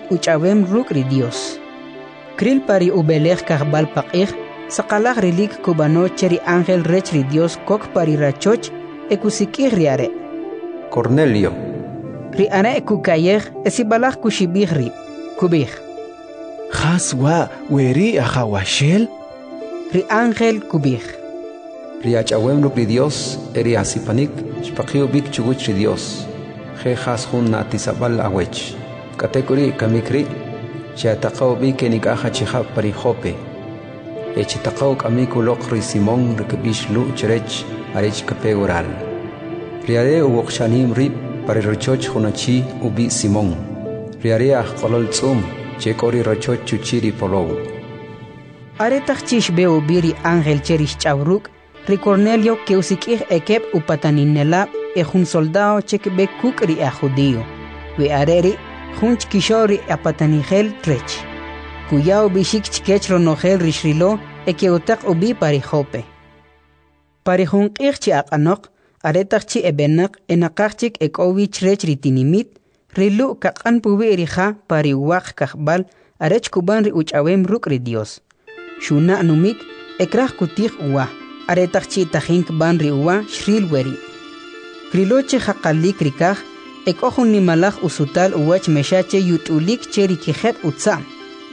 uch'awem ruk' ri Dios. Kril pa ri ub'elej kajb'al paq'ij, saqalaj rilik kub'ano che ri ángel rech ri Dios kok pa ri rachoch e kusik'ij ri are'. Cornelio. Ri are' kuka'yej e sib'alaj kuxib'ij rib'. Kub'ij: Jas wa' we ri' Ajawaxel? Ri ángel kub'ij: Ri ach'awem ruk' ri Dios e ri asipanik xpaqi' ub'ik chuwach ri Dios, je' jas jun na'tisab'al awech. K'atek'uri' kamik ri', che'ataqa' ub'ik enik'aj achijab' pa ri Jope, e chitaqa' uk'amik uloq ri Simón ri kb'ix Lu' chrech arech kape waral. Ri are' uwoqxa'nim rib' pa ri rachoch jun achi ub'i' Simón, ri are' ajk'olol tz'um che k'o ri rachoch chuchi' ri polow. Aretaq chi' xb'e ub'i ri ángel che ri xch'aw ruk', ri Cornelio ke'usik'ij ekeb' upataninelab' e jun soldado che kb'e kuk' ri e'ajjudi'o. We are' ri' jun chkixo'l ri e'apatanijel rech. Kuya ub'ixik chkech ronojel ri xrilo e ke'utaq ub'i pa ri Jope. Pa ri jun q'ij chi aq'anoq, aretaq chi' eb'enaq e naqaj chik ek'o wi chrech ri tinimit, ri Lu' kaq'an puwi' ri ja pa ri uwaq kajb'al arech kub'an ri uch'awem ruk' ri Dios. Xuna' numik e kraj kutij uwa. Aretaq chi' tajin kb'an ri uwa, xril weri'. Krilo che jaqalik ri kaj e k'o jun nimalaj usutal uwach mexa che yut'ulik che ri kijeb' utza'm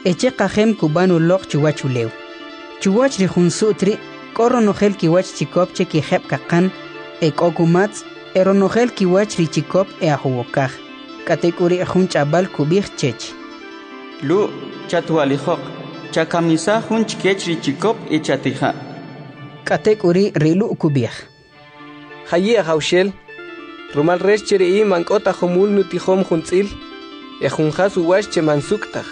e che qajem kub'an uloq chuwachulew. Chuwach ri jun su't ri' k'o ronojel kiwach chikop che kijeb' kaqan, e k'o kumatz, e ronojel kiwach ri chikop e'ajuwokaj. K'atek'uri' jun ch'ab'al kub'ij chech: Lu', chatwa'lijoq, chakamisaj jun chkech ri chikop e chatija'. K'atek'uri' ri Lu' kub'ij: Jayi' Ajawxel, rumal rech che ri in man k'o ta jumul nutijom jun tz'il e jun jas uwach che man suk' taj.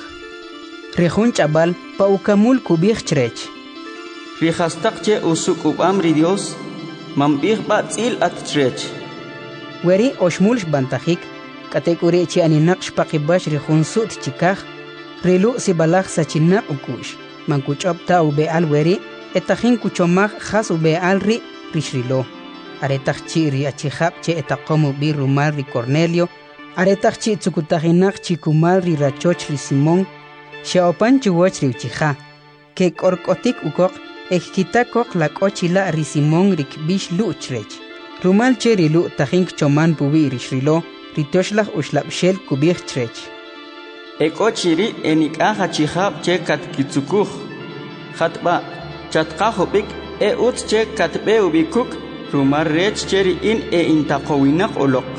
Ri jun ch'ab'al pa ukamul kub'ij chrech: Ri jastaq che usuk'ub'am ri Dios, man b'ij b'a tz'il at chrech. Weri' oxmul xb'antajik, k'atek'uri' chi aninaq xpaqib'ax ri jun su't chikaj, ri Lu' sib'alaj sachinaq uk'u'x, man kuch'ob' ta ub'e'al weri' e tajin kuchomaj jas ub'e'al ri' ri xrilo. Aretaq chi' ri achijab' che etaqom ub'i rumal ri Cornelio, aretaq chi' tzukutajinaq chi kumal ri rachoch ri Simón, xe'opan chuwach ri uchija, kek'ork'otik ukoq e kkita koq la k'o chila' ri Simón ri kb'ix Lu' chrech. Rumal che ri Lu' tajin kchoman puwi' ri xrilo, ri Tyoxlaj Uxlab'xel kub'ij chrech: E k'o chi ri' enik'aj achijab' che katkitzukuj. Jat b'a', chatqaj ub'ik e utz che katb'e ub'i kuk', rumal rech che ri in e'intaqowinaq uloq.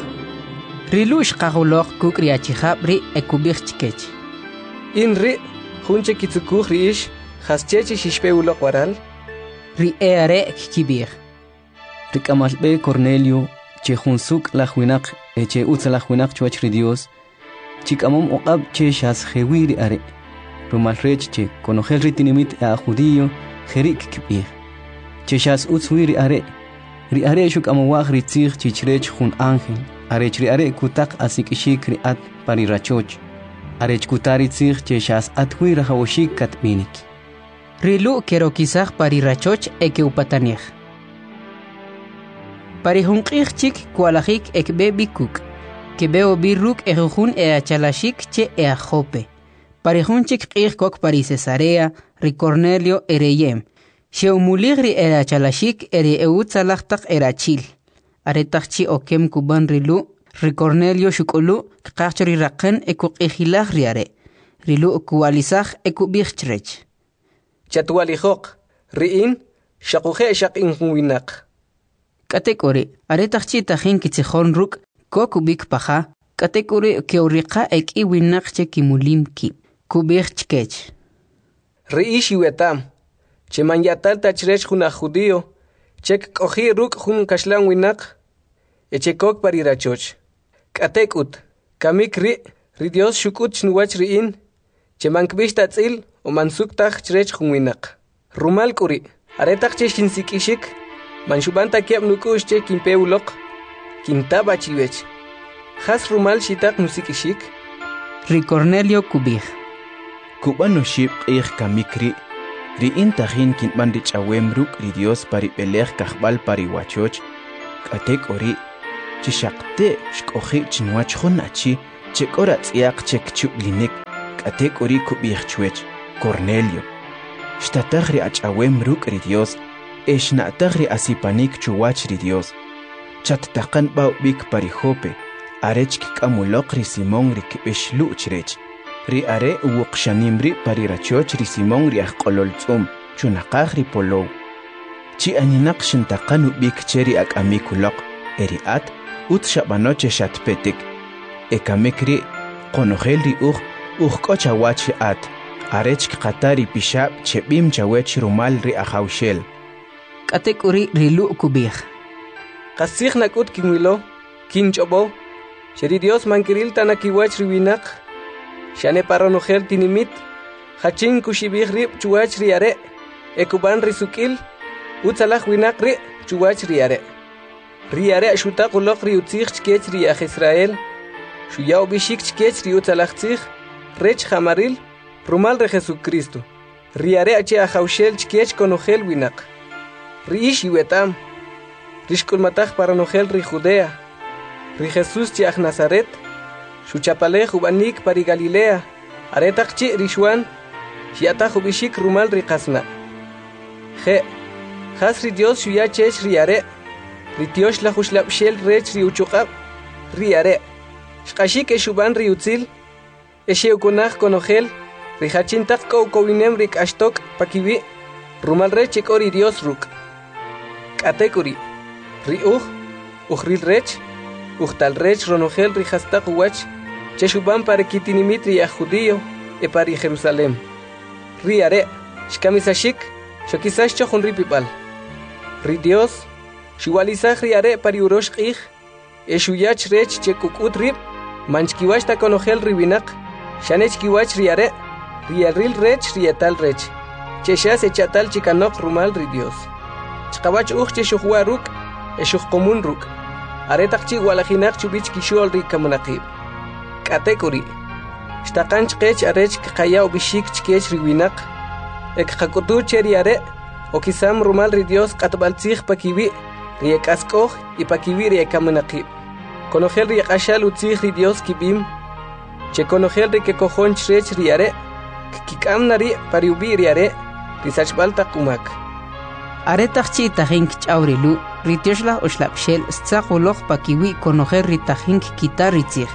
Ri Lu' xqaj uloq kuk' ri achijab' ri' e kub'ij chkech: In ri' jun che kitzukuj ri ix, jasche che xixpe uloq waral? Ri e'are' kkib'ij: Ri k'amal b'e Cornelio, che jun suk' laj winaq e che utzalaj winaq chuwach ri Dios, chik'amom uq'ab' che xas jewi ri are', rumal rech che konojel ri tinimit e'ajjudi'o jeri' kkib'ij, che xas utz wi ri are'. Ri are' xuk'amowaj ri tzij chi chrech jun ángel, arech ri are' kutaq asik'ixik ri at pa ri rachoch, arech kuta ri tzij che xas at wi rajawaxik katb'inik. Ri Lu' kerokisaj pa ri rachoch e ke'upatanij. Pa ri jun q'ij chik kwa'lajik e kb'e b'i kuk'. Kb'e ub'i ruk' ejujun e'achalaxik che e'ajjope. Pa ri jun chik q'ij kok pa ri Cesarea, ri Cornelio ereyem. Xe'umulij ri erachalaxik e ri e'utzalaj taq erachi'l. Aretaq chi' okem kub'an ri Lu', ri Cornelio xuk'ulu', kqaj cho ri raqan e kuq'ijilaj ri are'. Ri Lu' kuwa'lisaj e kub'ij chrech: Chatwa'lijoq, ri in, xoquje' xaq in jun winaq. K'atek'uri', aretaq chi' tajin kitzijon ruk', kok ub'ik pa ja, k'atek'uri' ke'uriqa' ek'i winaq che kimulim kib'. Kub'ij chkech: Ri ix iweta'm, che man ya'tal ta chrech jun aj judío che kk'oji' ruk' jun kaxlan winaq e che kok pa ri rachoch. K'atek'ut, kamik ri' ri Dios xuk'ut chnuwach ri in, che man kb'ix ta tz'il o man suk' taj chrech jun winaq. Rumal k'u ri', aretaq che xinsik'ixik, man xub'an ta keb' nuk'u'x che kinpe uloq, kinta b'a chiwech. Jas rumal xitaq nusik'ixik? Ri Cornelio kub'ij: Kub'an oxib' q'ij kamik ri', ri in tajin kinb'an ri ch'awem ruk' ri Dios pa ri b'elej kajb'al pa ri wachoch, k'atek'uri', chi xaqte' xk'oji' chinwach jun achi che k'o ratz'yaq che kchub'linik, k'atek'uri' kub'ij chwech: Cornelio, xtataj ri ach'awem ruk' ri Dios e xna'taj ri asipanik chuwach ri Dios. Chattaqan b'a ub'ik pa ri Jope, arech kk'am uloq ri Simón ri kb'ix Lu' chrech. Ri are' uwuqxanim rib' pa ri rachoch ri Simón ri ajq'olol tz'um, chunaqaj ri polow. Chi aninaq xintaqan ub'ik che ri ak'amik uloq, e ri at utz xab'ano che xatpetik. E kamik ri' qonojel ri uj, uj k'o chawach ri at, arech kqata ri pixab' che b'im chawech rumal ri Ajawxel. K'atek'uri' ri Lu' kub'ij: Qastzij nak'ut kinwilo, kinch'ob'o, che ri Dios man kiril ta na kiwach ri winaq, xane pa ronojel tinimit, jachin kuxib'ij rib' chuwach ri are' e kub'an ri suk'il, utzalaj winaq ri' chuwach ri are'. Ri are' xutaq uloq ri utzij chkech ri aj Israel, xuya ub'ixik chkech ri utzalaj tzij rech ja'maril rumal ri Jesucristo. Ri are' che ajawxel chkech konojel winaq. Ri ix iweta'm, ri xk'ulmataj pa ronojel ri Judea, ri Jesús che aj Nazaret, xuchapalej ub'anik pa ri Galilea, aretaq chi' ri Xuan xya'taj ub'ixik rumal ri qasna'. Je', jas ri Dios xuya chech ri are', ri tyoxlaj uxlab'xel rech ri uchuq'ab', ri are' xq'axik e xub'an ri utzil, e xe'ukunaj konojel ri jachin taq k'o ukowinem ri k'axtok' pakiwi', rumal rech che k'o ri Dios ruk'. K'atek'uri', ri uj, ujril rech, ujtal rech ronojel ri jastaq uwach che xub'an pa ri kitinimit ri aj judío e pa ri Jerusalem. Ri are' xkamisaxik, xokisax cho jun ripib'al. Ri Dios xuwa'lisaj ri are' pa ri urox q'ij e xuya chrech che kuk'ut rib' man chkiwach ta konojel ri winaq, xane chkiwach ri are' ri eril rech ri etal rech, che xas echa'tal chi kanoq rumal ri Dios. Chqawach uj che xujwa' ruk' e xujqumun ruk', aretaq chi' wa'lajinaq chub'i chkixo'l ri kaminaqib'. K'atek'uri', xtaqan chqech arech kqaya ub'ixik chkech ri winaq e kqak'utu che ri are' okisam rumal ri Dios q'atb'al tzij pakiwi' ri e k'ask'oj y pakiwi' ri e kaminaqib'. Konojel ri q'axal utzij ri Dios kib'im che konojel ri kekojon chrech ri are' kkik'am na ri' pa ri ub'i' ri are' ri sachb'al taq umak. Aretaq chi' tajin kch'aw ri Lu', ri tyoxlaj uxlab'xel xtzaq uloq pakiwi' konojel ri tajin kkita ri tzij.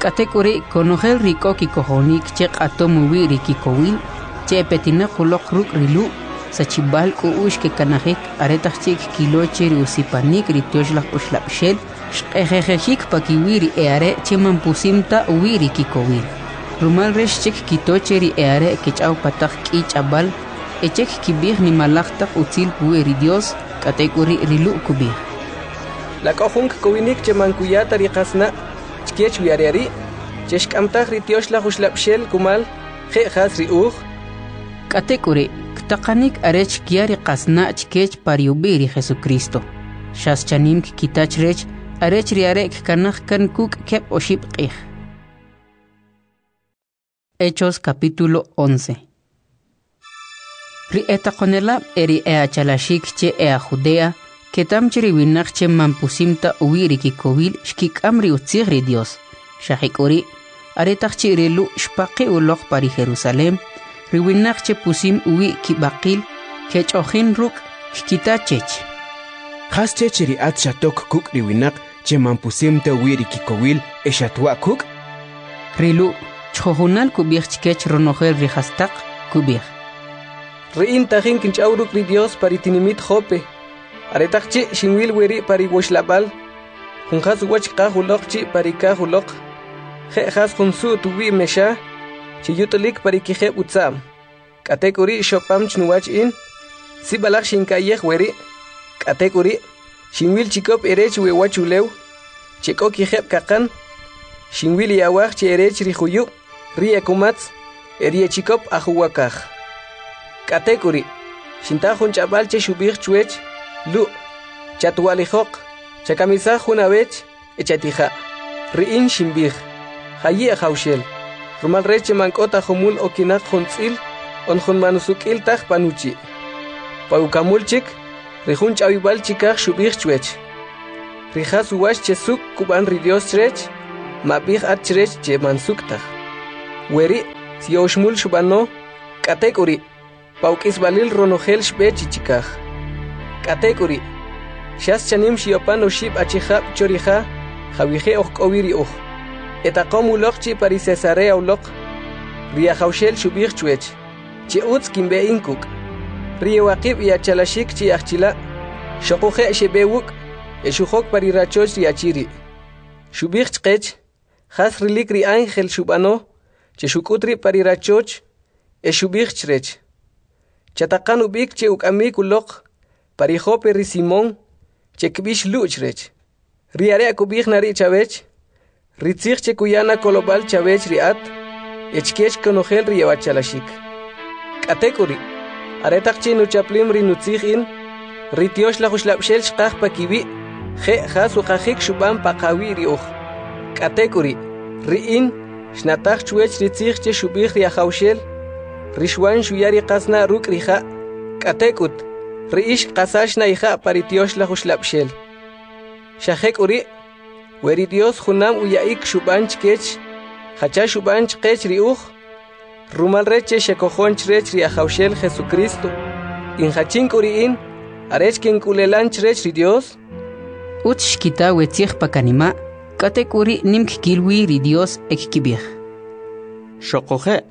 K'atek'uri' konojel ri k'o kikojonik che q'atom uwi' ri kikowil, che epetinaq uloq ruk' ri Lu', sachib'al k'u'ux kekanajik aretaq chi' kkilo che ri usipanik ri tyoxlaj uxlab'xel xq'ejejexik pakiwi' ri e'are' che man pusim ta uwi' ri kikowil. Rumal rech che kkito che ri e'are' kech'aw pa taq k'i ch'ab'al e che kkib'ij nimalaj taq utzil puwi' ri Dios, k'atek'uri' ri Lu' kub'ij: La k'o jun kkowinik che man kuya ta ri qasna' chkech wi are ri' che xk'amtaj ri tyoxlaj uxlab'xel kumal je' jas ri uj? K'atek'uri' ktaqanik arech kya ri qasna' chkech pa ri ub'i' ri Jesucristo. Xas chanim kkita chrech arech ri are' kkanaj kan kuk' keb' oxib' q'ij. Hechos capítulo 11. Ri etaqonelab' e ri e'achalaxik che e'aj Judea ketam che ri winaq che man pusim ta uwi' ri kikowil xkik'am ri utzij ri Dios. Xa jek'uri', aretaq chi' ri Lu' xpaqi' uloq pa ri Jerusalem, ri winaq che pusim uwi' kib'aqil kech'ojin ruk' kkita chech: Jas chech ri at xatok kuk' ri winaq che man pusim ta uwi' ri kikowil e xatwa' kuk'? Ri Lu' chjujunal kub'ij chkech ronojel ri jastaq, kub'ij: Ri in tajin kinch'aw ruk' ri Dios pa ri tinimit Jope, aretaq chi' xinwil weri' pa ri wuxlab'al, jun jas uwach kqaj uloq chi' pa ri kaj uloq, je' jas jun su't uwi' mexa che yut'ulik pa ri kijeb' utza'm. K'atek'uri' xopam chnuwach in, sib'alaj xinka'yej weri', k'atek'uri' xinwil chikop erech we uwachulew che k'o kijeb' kaqan, xinwil ri awaj che erech ri juyub', ri e kumatz e ri e chikop ajuwakaj. K'atek'uri', xinta jun ch'ab'al che xub'ij chwech: Lu', chatwa'lijoq, chakamisaj jun awech e chatija'. Ri in xinb'ij: Jayi' ajawxel, rumal rech che man k'o ta jumul okinaq jun tz'il on jun man usuk'il taj panuchi'. Pa ukamul chik, ri jun ch'awib'al chikaj xub'ij chwech: Ri jas uwach che suk' kub'an ri Dios chrech, mab'ij at chrech che man suk' taj. Weri' si oxmul xub'ano, k'atek'uri', pa uk'isb'alil ronojel xb'e chi chikaj. K'atek'uri', xas chanim xe'opan oxib' achijab' cho ri ja jawije' oj k'o wi ri uj. Etaqom uloq chi pa ri Cesarea uloq. Ri Ajawxel xub'ij chwech che utz kinb'e in kuk'. Ri ewaqib' e'achalaxik chi ajchila' xoquje' xeb'e wuk' e xujok pa ri rachoch ri achi ri'. Xub'ij chqech jas rilik ri ángel xub'ano che xuk'ut rib' pa ri rachoch e xub'ij chrech: Chataqan ub'ik che uk'amik uloq pa ri Jope ri Simón che kb'ix Lu' chrech. Ri are' kub'ij na ri' chawech ri tzij che kuya na kolob'al chawech ri at e chkech konojel ri ewachalaxik. K'atek'uri', aretaq chi' nuchaplim ri nutzij in, ri Tyoxlaj Uxlab'xel xqaj pakiwi' je' jas uqajik xub'an paqawi' ri uj. K'atek'uri', ri in xna'taj chwech ri tzij che xub'ij ri Ajawxel, ri Xwan xuya ri qasna' ruk' ri ja', k'atek'ut, ri ix kqasax na ija' pa ri Tyoxlaj Uxlab'xel. Xa jek'uri', we ri Dios junam uya'ik xub'an chkech, jacha xub'an chqech ri uj, rumal rech che xekojon chrech ri Ajawxel Jesucristo, in jachin k'u ri in, arech kink'ulelan chrech ri Dios? Utz xkita we tzij pa kanima', k'atek'uri' nim kkil wi ri Dios e kkib'ij: Xoquje',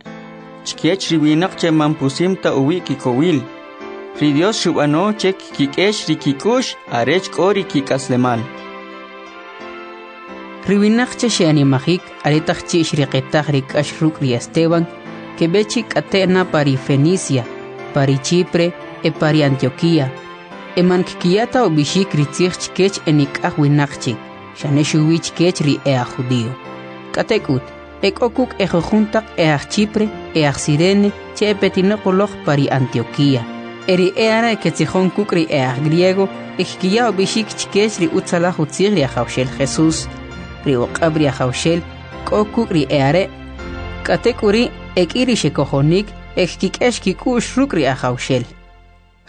chkech ri winaq che man pusim ta uwi' kikowil, ri Dios xub'ano che kkik'ex ri kik'u'x arech k'o ri kik'aslemal. Ri winaq che xe'animajik aretaq chi' xriqitaj ri k'ax ruk' ri Esteban, keb'e chi k'ate' na pa ri Fenicia, pa ri Chipre e pa ri Antioquía, e man kkiya ta ub'ixik ri tzij chkech enik'aj winaq chik, xane xuwi chkech ri e'ajjudio. K'atek'ut, ek'o kuk' ejujun taq e'aj Chipre e aj Sirene che epetinaq uloq pa ri Antioquía. E ri e'are' ketzijon kuk' ri e'aj griego e kkiya ub'ixik chkech ri utzalaj utzij ri Ajawxel Jesús. Ri uq'ab' ri Ajawxel k'o kuk' ri e'are'. K'atek'uri' ek'i ri xekojonik e kkik'ex kik'u'x ruk' ri Ajawxel.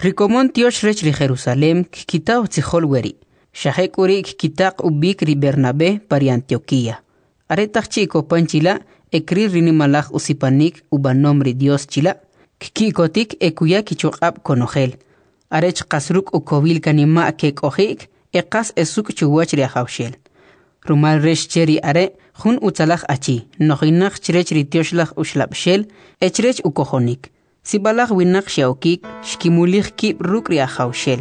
Ri komon tyox rech ri Jerusalem kkita utzijol weri', xa jek'uri' kkitaq ub'ik ri Bernabé pa ri Antioquía. Aretaq chi' kopan chila' e kril ri nimalaj usipanik ub'anom ri Dios chila', kki'kotik e kuya kichuq'ab' konojel, arech qas ruk' ukowil kanima' kek'oji'k e qas esuk' chuwach ri Ajawxel. Rumal rech che ri are' jun utzalaj achi, nojinaq chrech ri Tyoxlaj Uxlab'xel e chrech ukojonik. Sib'alaj winaq xe'okik xkimulij kib' ruk' ri Ajawxel.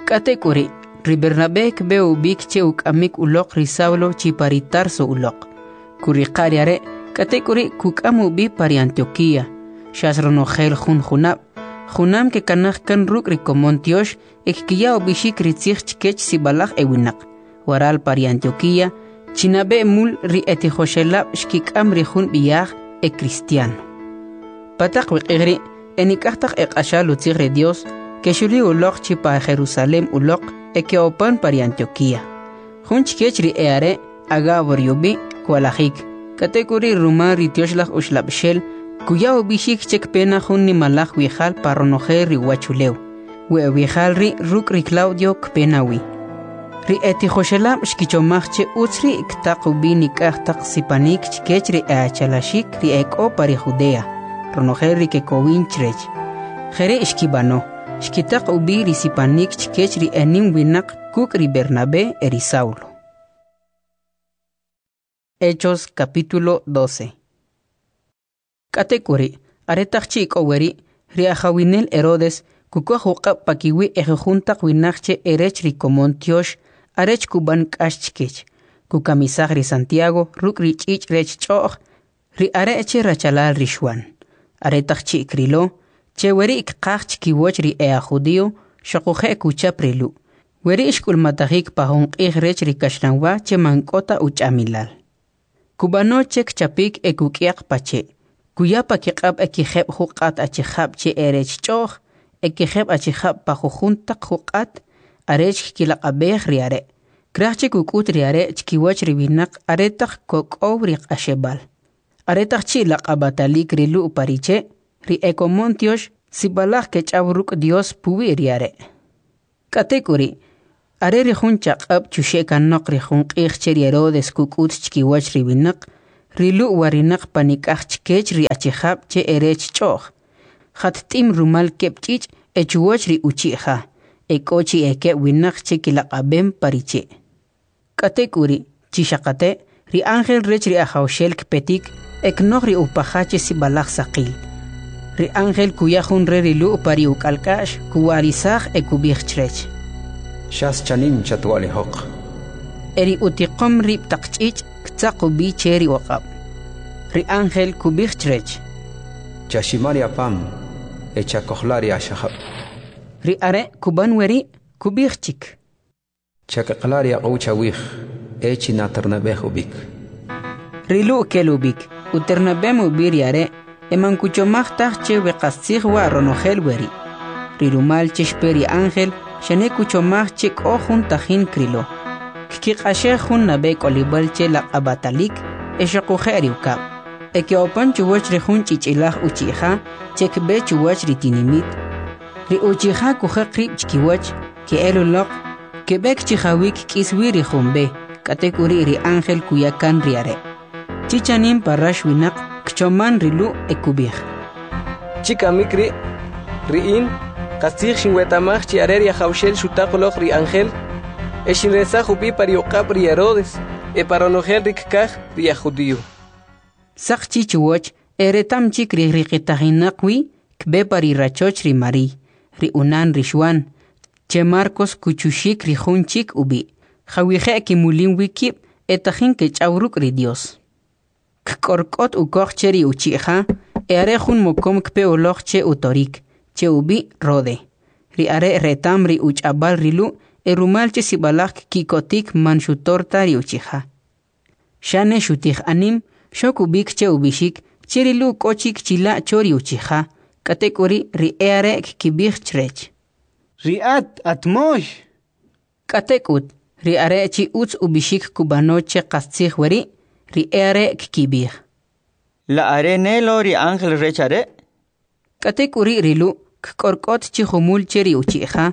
K'atek'uri', ri Bernabé kb'e ub'ik che uk'amik uloq ri Saulo chi pa ri Tarso uloq. Kuriqa' ri are', k'atek'uri' kuk'am ub'i pa ri Antioquía. Xas ronojel jun junab', junam kekanaj kan ruk' ri komon tyox e kkiya ub'ixik ri tzij chkech sib'alaj ewinaq. Waral pa ri Antioquía, chinab'e mul ri etijoxelab' xkik'am ri jun b'iaj e cristiano. Pa taq we q'ij ri' enik'aj taq eq'axal utzij ri Dios kexuli uloq chi pa Jerusalem uloq e ke'opan pa ri Antioquía. Jun chkech ri e'are' Agabo ri ub'i' kwalajik, k'atek'uri' rumal ri Tyoxlaj Uxlab'xel kuya ub'ixik che kpe na jun nimalaj wi'jal pa ronojel ri uwachulew. We wi'jal ri' ruk' ri Claudio kpe na wi. Ri etijoxelab' xkichomaj che utz ri' ktaq ub'i nik'aj taq sipanik chkech ri e'achalaxik ri ek'o pa ri Judea, ronojel ri kekowin chrech. Jeri' xkib'ano, xkitaq ub'i ri sipanik chkech ri enim winaq kuk' ri Bernabé e ri Saulo. Hechos capítulo 12. K'atek'uri', aretaq chi' k'o weri', ri ajawinel Herodes kukoj uq'ab' pakiwi' ejujun taq winaq che erech ri komon tyox arech kub'an k'ax chkech. Kukamisaj ri Santiago ruk' ri ch'ich' rech ch'o'j, ri are' che rachalal ri Xwan. Aretaq chi' krilo, che weri' kqaj chkiwach ri e'ajjudio, xoquje' kuchap ri Lu'. Weri' xk'ulmatajik pa jun q'ij rech ri kaxlanwa che man k'o ta uch'amilal. Kub'ano che kchapik e kuk'yaq pa che'. Kuya pa kiq'ab' e kijeb' juq'at achijab' che erech ch'o'j, e kijeb' achijab' pa jujun taq juq'at arech kkilaq'ab'ej ri are'. Kraj che kuk'ut ri are' chkiwach ri winaq aretaq kok'ow ri q'axeb'al. Aretaq chi' laq'ab'atalik ri Lu' pa ri che', ri ekomon tyox sib'alaj kech'aw ruk' Dios puwi' ri are'. K'atek'uri', Are ri jun chaq'ab' chuxe' kanoq ri jun q'ij che ri Herodes kuk'ut chkiwach ri winaq, ri Lu' warinaq panik'aj chkech ri achijab' che erech ch'o'j, jat'im rumal keb' ch'ich' e chuwach ri uchi' ja, ek'o chi ekeb' winaq che kilaq'ab'em pa ri che'. K'atek'uri', chi xaqate', ri ángel rech ri Ajawxel kpetik e knoj ri upaja che sib'alaj saqil. Ri ángel kuya jun re ri Lu' pa ri uk'alk'a'x, kuwa'lisaj e kub'ij chrech: Xas chanim chatwa'lijoq. E ri utiqom rib' taq ch'ich' ktzaq ub'i che ri uq'ab'. Ri ángel kub'ij chrech: Chaxima ri apam e chakojla' ri axajab'. Ri are' kub'an weri', kub'ij chik: Chak'aqla' ri aq'u' chawij e chinaternab'ej ub'ik. Ri Lu' kel ub'ik, uternab'em ub'i ri are' e man kuchomaj taj che we qastzij wa' ronojel weri'. Ri rumal che xpe ri ángel, xane kuchomaj che k'o jun tajin krilo. Kkiq'axej jun nab'e k'olib'al che laq'ab'atalik e xoquje' ri ukab'. E ke'opan chuwach ri jun ch'ich'ilaj uchi'ja che kb'e chuwach ri tinimit. Ri uchi'ja kujaq rib' chkiwach, ke'el uloq, keb'ek chi jawi' kk'is wi ri jun b'e, k'atek'uri' ri ángel kuya kan ri are'. Chi chanim pa rax winaq kchoman ri Lu' e kub'ij: Chi kamik ri', ri in, qastzij xinweta'maj chi are ri Ajawxel xutaq uloq ri ángel e xinresaj ub'i pa ri uq'ab' ri Herodes e pa ronojel ri kkaj ri aj judío. Saq chi chuwach e retam chik ri riqitajinaq wi kb'e pa ri rachoch ri Mariy, ri unan ri Xwan, che Marcos kuchuxik ri jun chik ub'i', jawije' kimulim wi kib' e tajin kech'aw ruk' ri Dios. Kk'ork'ot ukoq che ri uchi'ja e are jun mokom kpe uloq che utorik, che ub'i' Rode. Ri are' retam ri uch'ab'al ri Lu' e rumal che sib'alaj kki'kotik man xutor ta ri uchi'ja. Xane xutij anim, xok ub'ik che ub'ixik che ri Lu' k'o chik chila' cho ri uchi'ja, k'atek'uri' ri e'are' kkib'ij chrech: Ri at, at moy. K'atek'ut, ri are' chi utz ub'ixik kub'ano che qastzij weri', ri e'are' kkib'ij: La are ne lo ri ángel rech are'? K'atek'uri' ri Lu' kk'ork'ot chi jumul che ri uchi'ja,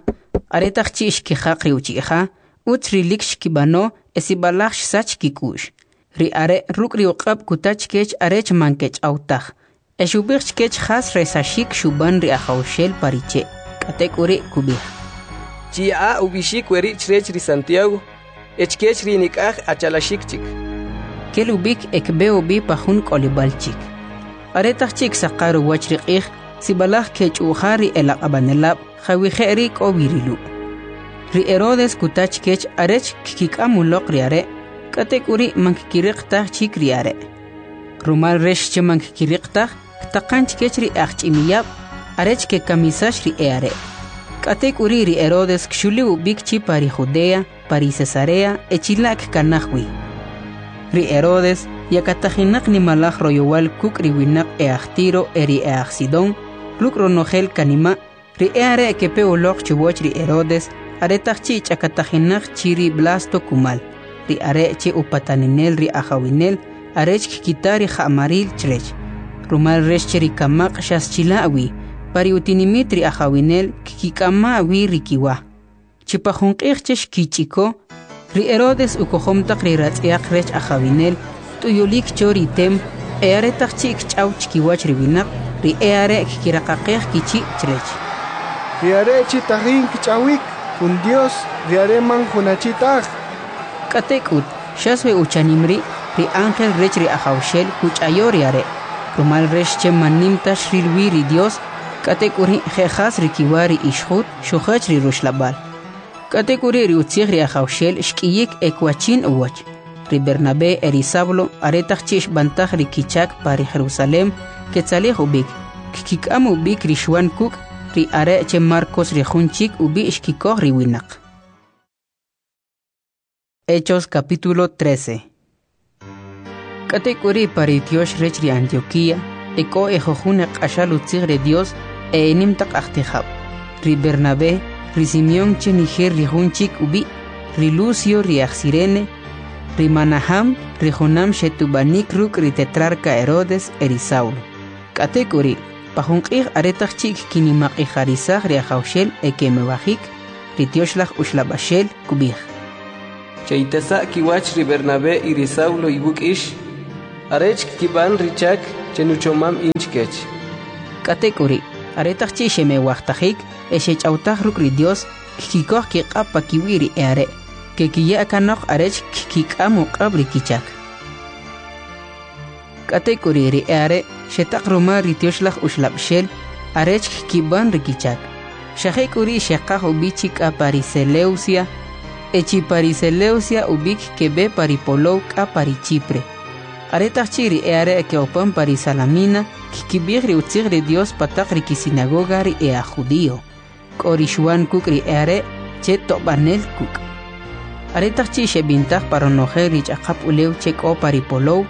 aretaq chi' xkijaq ri uchi'ja, utz rilik xkib'ano e sib'alaj xsach kik'u'x. Ri are' ruk' ri uq'ab' kuta chkech arech man kech'aw taj, e xub'ij chkech jas resaxik xub'an ri Ajawxel pa ri che'. K'atek'uri' kub'ij: Chiya'a ub'ixik weri' chrech ri Santiago e chkech ri nik'aj achalaxik chik. Kel ub'ik e kb'e ub'i pa jun k'olib'al chik. Aretaq chi' ksaqar uwach ri q'ij, sib'alaj kech'u'jar ri elaq'ab'anelab' jawije' ri k'o wi ri Lu'. Ri Herodes kuta chkech arech kkik'am uloq ri are', k'atek'uri' man kkiriq taj chik ri are'. Rumal rech che man kkiriq taj, ktaqan chkech ri ajch'imiyab' arech kekamisax ri e'are'. K'atek'uri' ri Herodes kxuli ub'ik chi pa ri Judea, pa ri Cesarea e chila' kkanaj wi. Ri Herodes yakatajinaq nimalaj royowal kuk' ri winaq e'aj Tiro e ri e'aj Sidón, ruk' ronojel kanima', ri e'are' kepe uloq chuwach ri Herodes aretaq chi' ch'akatajinaq chi ri Blasto kumal, ri are' che upataninel ri ajawinel arech kkita ri ja'maril chrech. Rumal rech che ri kamaq' xas chila' wi, pa ri utinimit ri ajawinel kkik'ama' wi ri kiwa. Chi pa jun q'ij che xkich'iko, ri Herodes ukojom taq ri ratz'yaq rech ajawinel t'uyulik cho ri tem e aretaq chi' kch'aw chkiwach ri winaq, ri e'are' kkiraqaqej kichi' chrech. Ri are' chi tajin kch'awik, jun Dios, ri are' man jun achi taj. K'atek'ut, xas we uchanim ri', ri ángel rech ri Ajawxel kuch'ayo ri are', rumal rech che man nim ta xril wi ri Dios, k'atek'uri' je' jas ri kiwa ri ixjut xujach ri ruxlab'al. K'atek'uri' ri utzij ri Ajawxel xk'iyik e kwachin uwach. Ri Bernabé e ri Saulo aretaq chi' xb'antaj ri kichak pa ri Jerusalem ketzalij ub'ik, kkik'am ub'ik ri Xwan kuk', ri are' che Marcos ri jun chik ub'i' xkikoj ri winaq. Hechos capítulo 13. K'atek'uri' pa ri tyox rech ri Antioquía e k'o ejujun eq'axal utzij ri Dios e enim taq ajtijab', ri Bernabé, ri Simeón che Niger ri jun chik ub'i', ri Lucio ri aj Sirene, ri Manaham ri junam xetub'anik ruk' ri tetrarca Herodes e ri Saulo. K'atek'uri', pa jun q'ij aretaq chi' kkinimaq'ijarisaj ri Ajawxel e kemewajik, ri Tyoxlaj Uxlab'axel kub'ij: Che'itasa' kiwach ri Bernabé y ri Saulo iwuk' ix, arech kkib'an ri chak che nuchomam in chkech. K'atek'uri', aretaq chi' xemewajtajik e xech'awtaj ruk' ri Dios, kkikoj kiq'ab' pakiwi' ri e'are', kekiya kanoq arech kkik'am uq'ab' ri kichak. K'atek'uri' ri e'are' xetaq rumal ri Tyoxlaj Uxlab'xel arech kkib'an ri kichak. Xa jek'uri' xeqaj ub'i chi k'a pa ri Seleucia, e chi pa ri Seleucia ub'ik keb'e pa ri polow k'a pa ri Chipre. Aretaq chi' ri e'are' ke'opan pa ri Salamina, kkib'ij ri utzij ri Dios pa taq ri kisinagoga ri e'ajjudio. K'o ri Xuan kuk' ri e'are' che tob'anel kuk'. Aretaq chi' xeb'intaj pa ronojel ri ch'aqap ulew che k'o pa ri polow,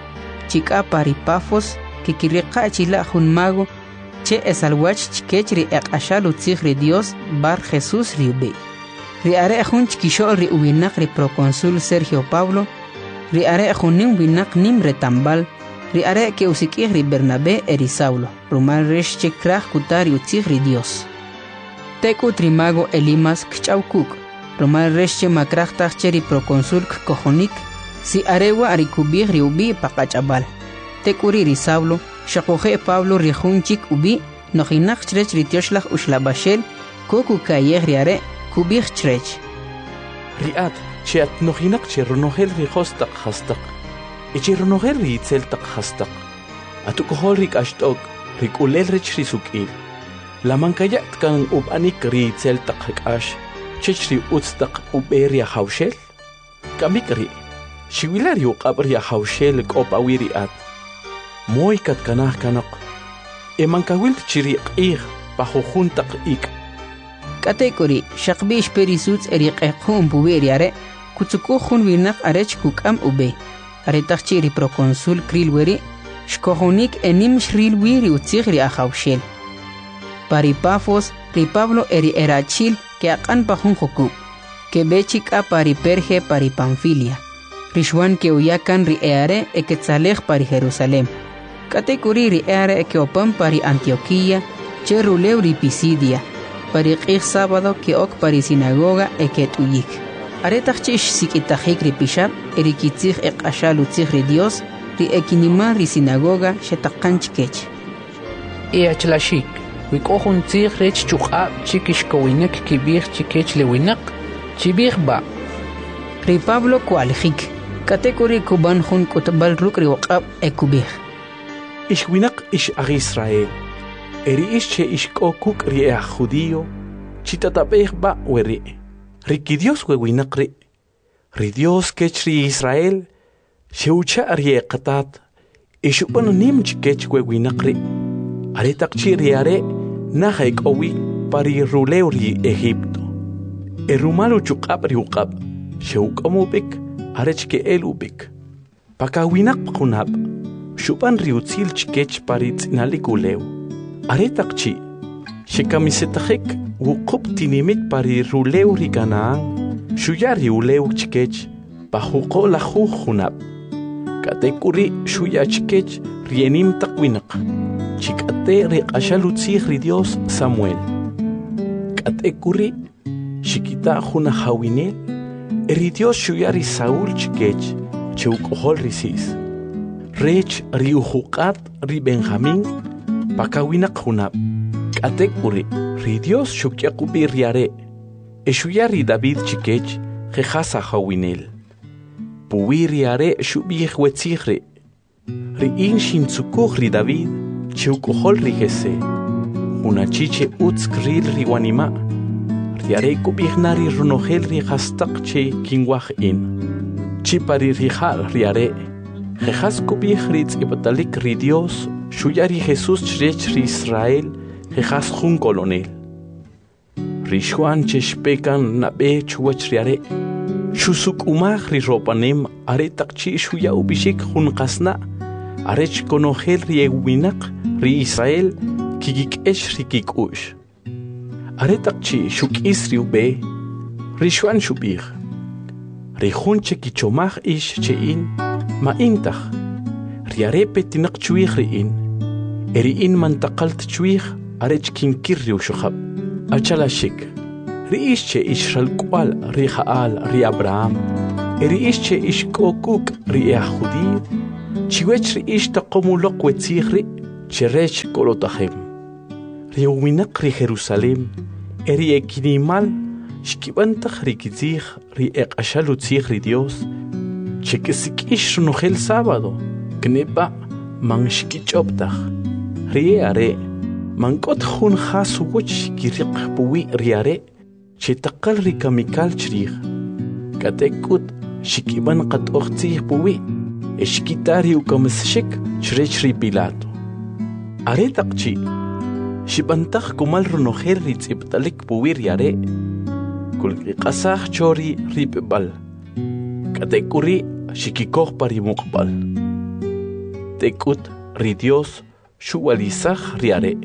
chi k'a pa ri Pafos, kekiriqa' chila' jun mago che esalwach chkech ri eq'axal utzij ri Dios Bar Jesús ri ub'i'. Ri are' jun chkixo'l ri uwinaq ri proconsul Sergio Paulo, ri are' jun nim winaq nim retamb'al, ri are' ke'usik'ij ri Bernabé e ri Saulo, rumal rech che kraj kuta ri utzij ri Dios. Tek'ut ri mago Elimas kch'aw kuk', rumal rech che ma kraj taj che ri proconsul kkojonik, si are wa' ri kub'ij ri ub'i' pa qach'ab'al. Tek'uri' ri Saulo, xuquje' Pablo ri jun chik ub'i', nojinaq chrech ri Tyoxlaj Uxlab'axel, ko kuka'yej ri are', kub'ij chrech: Ri at che at nojinaq che ronojel ri jo's taq jastaq e che ronojel ri itzel taq jastaq, at uk'ojol ri k'axt'ok, ri k'ulel rech ri suk'il. La man kaya't kan ub'anik ri itzel taq k'ax chech ri utz taq ub'e ri Ajawxel? Kamik ri', xiwila ri uq'ab' ri Ajawxel k'o pawi' ri at. Moy katkanaj kanoq, e man kawil ta chi ri q'ij pa jujun taq ik'. K'atek'uri', xaqb'i' xpe ri sutz' e ri q'equ'm puwi' ri are', kutzukuj jun winaq arech kuk'am ub'e. Aretaq chi' ri proconsul kril weri', xkojonik e nim xril wi ri utzij ri Ajawxel. Pa ri Pafos, ri Pablo e ri erachi'l ke'aq'an pa jun jukub', keb'e chi k'a pa ri Perge pa ri Panfilia. Ri Xuan ke'uya kan ri e'are' e ketzalej pa ri Jerusalem. K'atek'uri' ri e'are' ke'opan pa ri Antioquía, che rulew ri Pisidia. Pa ri q'ij sábado ke'ok pa ri sinagoga e ket'uyik. Aretaq chi' xsik'itajik ri pixab' e ri kitzij eq'axal utzij ri Dios, ri ekinimal ri sinagoga xetaqan chkech. E achlaxik, we k'o jun tzij rech chuq'ab' che kixkowinik kib'ij chikech le winaq, chib'ij b'a'. Ri Pablo kwa'lijik, k'atek'uri' kub'an jun k'utb'al ruk' ri uq'ab' e kub'ij: Ix winaq ix aj Israel, e ri ix che ix k'o kuk' ri e'aj judío, chitatab'ej b'a' weri'. Ri kiDios we winaq ri', ri Dios kech ri Israel, xe'ucha' ri eqatat e xub'an nim chikech we winaq ri'. Aretaq chi' ri are' naj ek'o wi pa ri rulew ri Egipto. E rumal uchuq'ab' ri uq'ab' xe'uk'am ub'ik arech ke'el ub'ik. Pa kawinaq junab' xub'an ri utzil chikech pa ri tz'inalik ulew. Aretaq chi' xekamisetajik wuqub' tinimit pa ri rulew ri Canaán, xuya ri ulew chikech pa juq'o' lajuj junab'. K'atek'uri' xuya chikech ri enim taq winaq, chi k'ate' ri q'axal utzij ri Dios Samuel. K'atek'uri' xikita' jun ajawinel, e ri Dios xuya ri Saúl chikech, che uk'ojol ri Cis, rech ri ujuq'at ri Benjamín pa kawinaq junab'. K'atek'uri' ri Dios xuk'yaq ub'i ri are' e xuya ri David chikech je jas ajawinel. Puwi ri are' xub'ij we tzij ri': Ri in xintzukuj ri David che uk'ojol ri Jesé, jun achi che utz kril ri wanima'. Ri are' kub'ij na ri ronojel ri jastaq che kinwaj in. Chi pa ri rija'l ri are', je jas kub'ij ri tz'ib'atalik ri Dios xuya ri Jesús chrech ri Israel je jas jun kolonel. Ri Xuan che xpe kan nab'e chuwach ri are', xusuk'umaj ri ropanem aretaq chi' xuya ub'ixik jun qasna' arech konojel ri ewinaq ri Israel kikik'ex ri kik'u'x. Aretaq chi' xuk'is ri ub'e, ri Xuan xub'ij: Ri jun che kichomaj ix che in, ma in taj. Ri are' petinaq chwij ri in, e ri in man taqal ta chwij arech kinkir ri uxajab'. Achalaxik, Ri ix che ix ralk'wa'l ri ja'al ri Abraham e ri ix che ix k'o kuk' ri e'aj judío, chiwech ri ix taqom uloq we tzij ri' che rech kolotajem. Ri uwinaq ri Jerusalem e ri ekinimal xkib'an taq ri kitzij ri eq'axal utzij ri Dios che kesik'ix ronojel sábado, kneb'a' man xkich'ob' taj. Ri e'are' man k'o ta jun jas uwach xkiriq puwi' ri are' che taqal ri kamikal chrij. K'atek'ut xkib'an q'atoj tzij puwi' e xkita ri ukamisaxik chrech ri Pilato. Aretaq chi' xib'antaj kumal ronojel ri tz'ib'talik puwi' ri are', kulkiq'asaj cho ri ripb'al, k'atek'uri' xikikoj pa ri muqb'al. Tek'ut ri Dios xuwa'lisaj ri are'.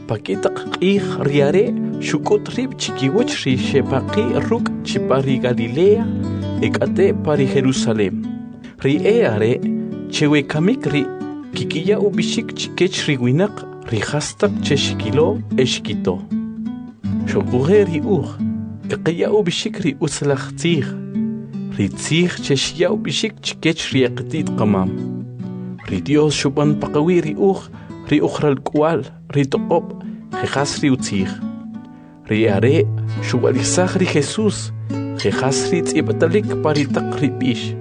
Pa k'i taq q'ij ri are' xuk'ut rib' chikiwach ri xepaqi' ruk' chi pa ri Galilea e k'ate' pa ri Jerusalem. Ri e are' che we kamik ri' kikiya ub'ixik chikech ri winaq ri jastaq che xkilo e xkito. Xuquje' ri uj kqaya ub'ixik ri utzalaj tzij, ri tzij che xya ub'ixik chikech ri e qati't qamam. Ri Dios xub'an paqawi' ri uj ri uj ralk'wa'l ri toq'ob' je jas ri utzij. Ri are' xuwa'lisaj ri Jesús je jas ri tz'ib'atalik pa ri taq ri b'ix.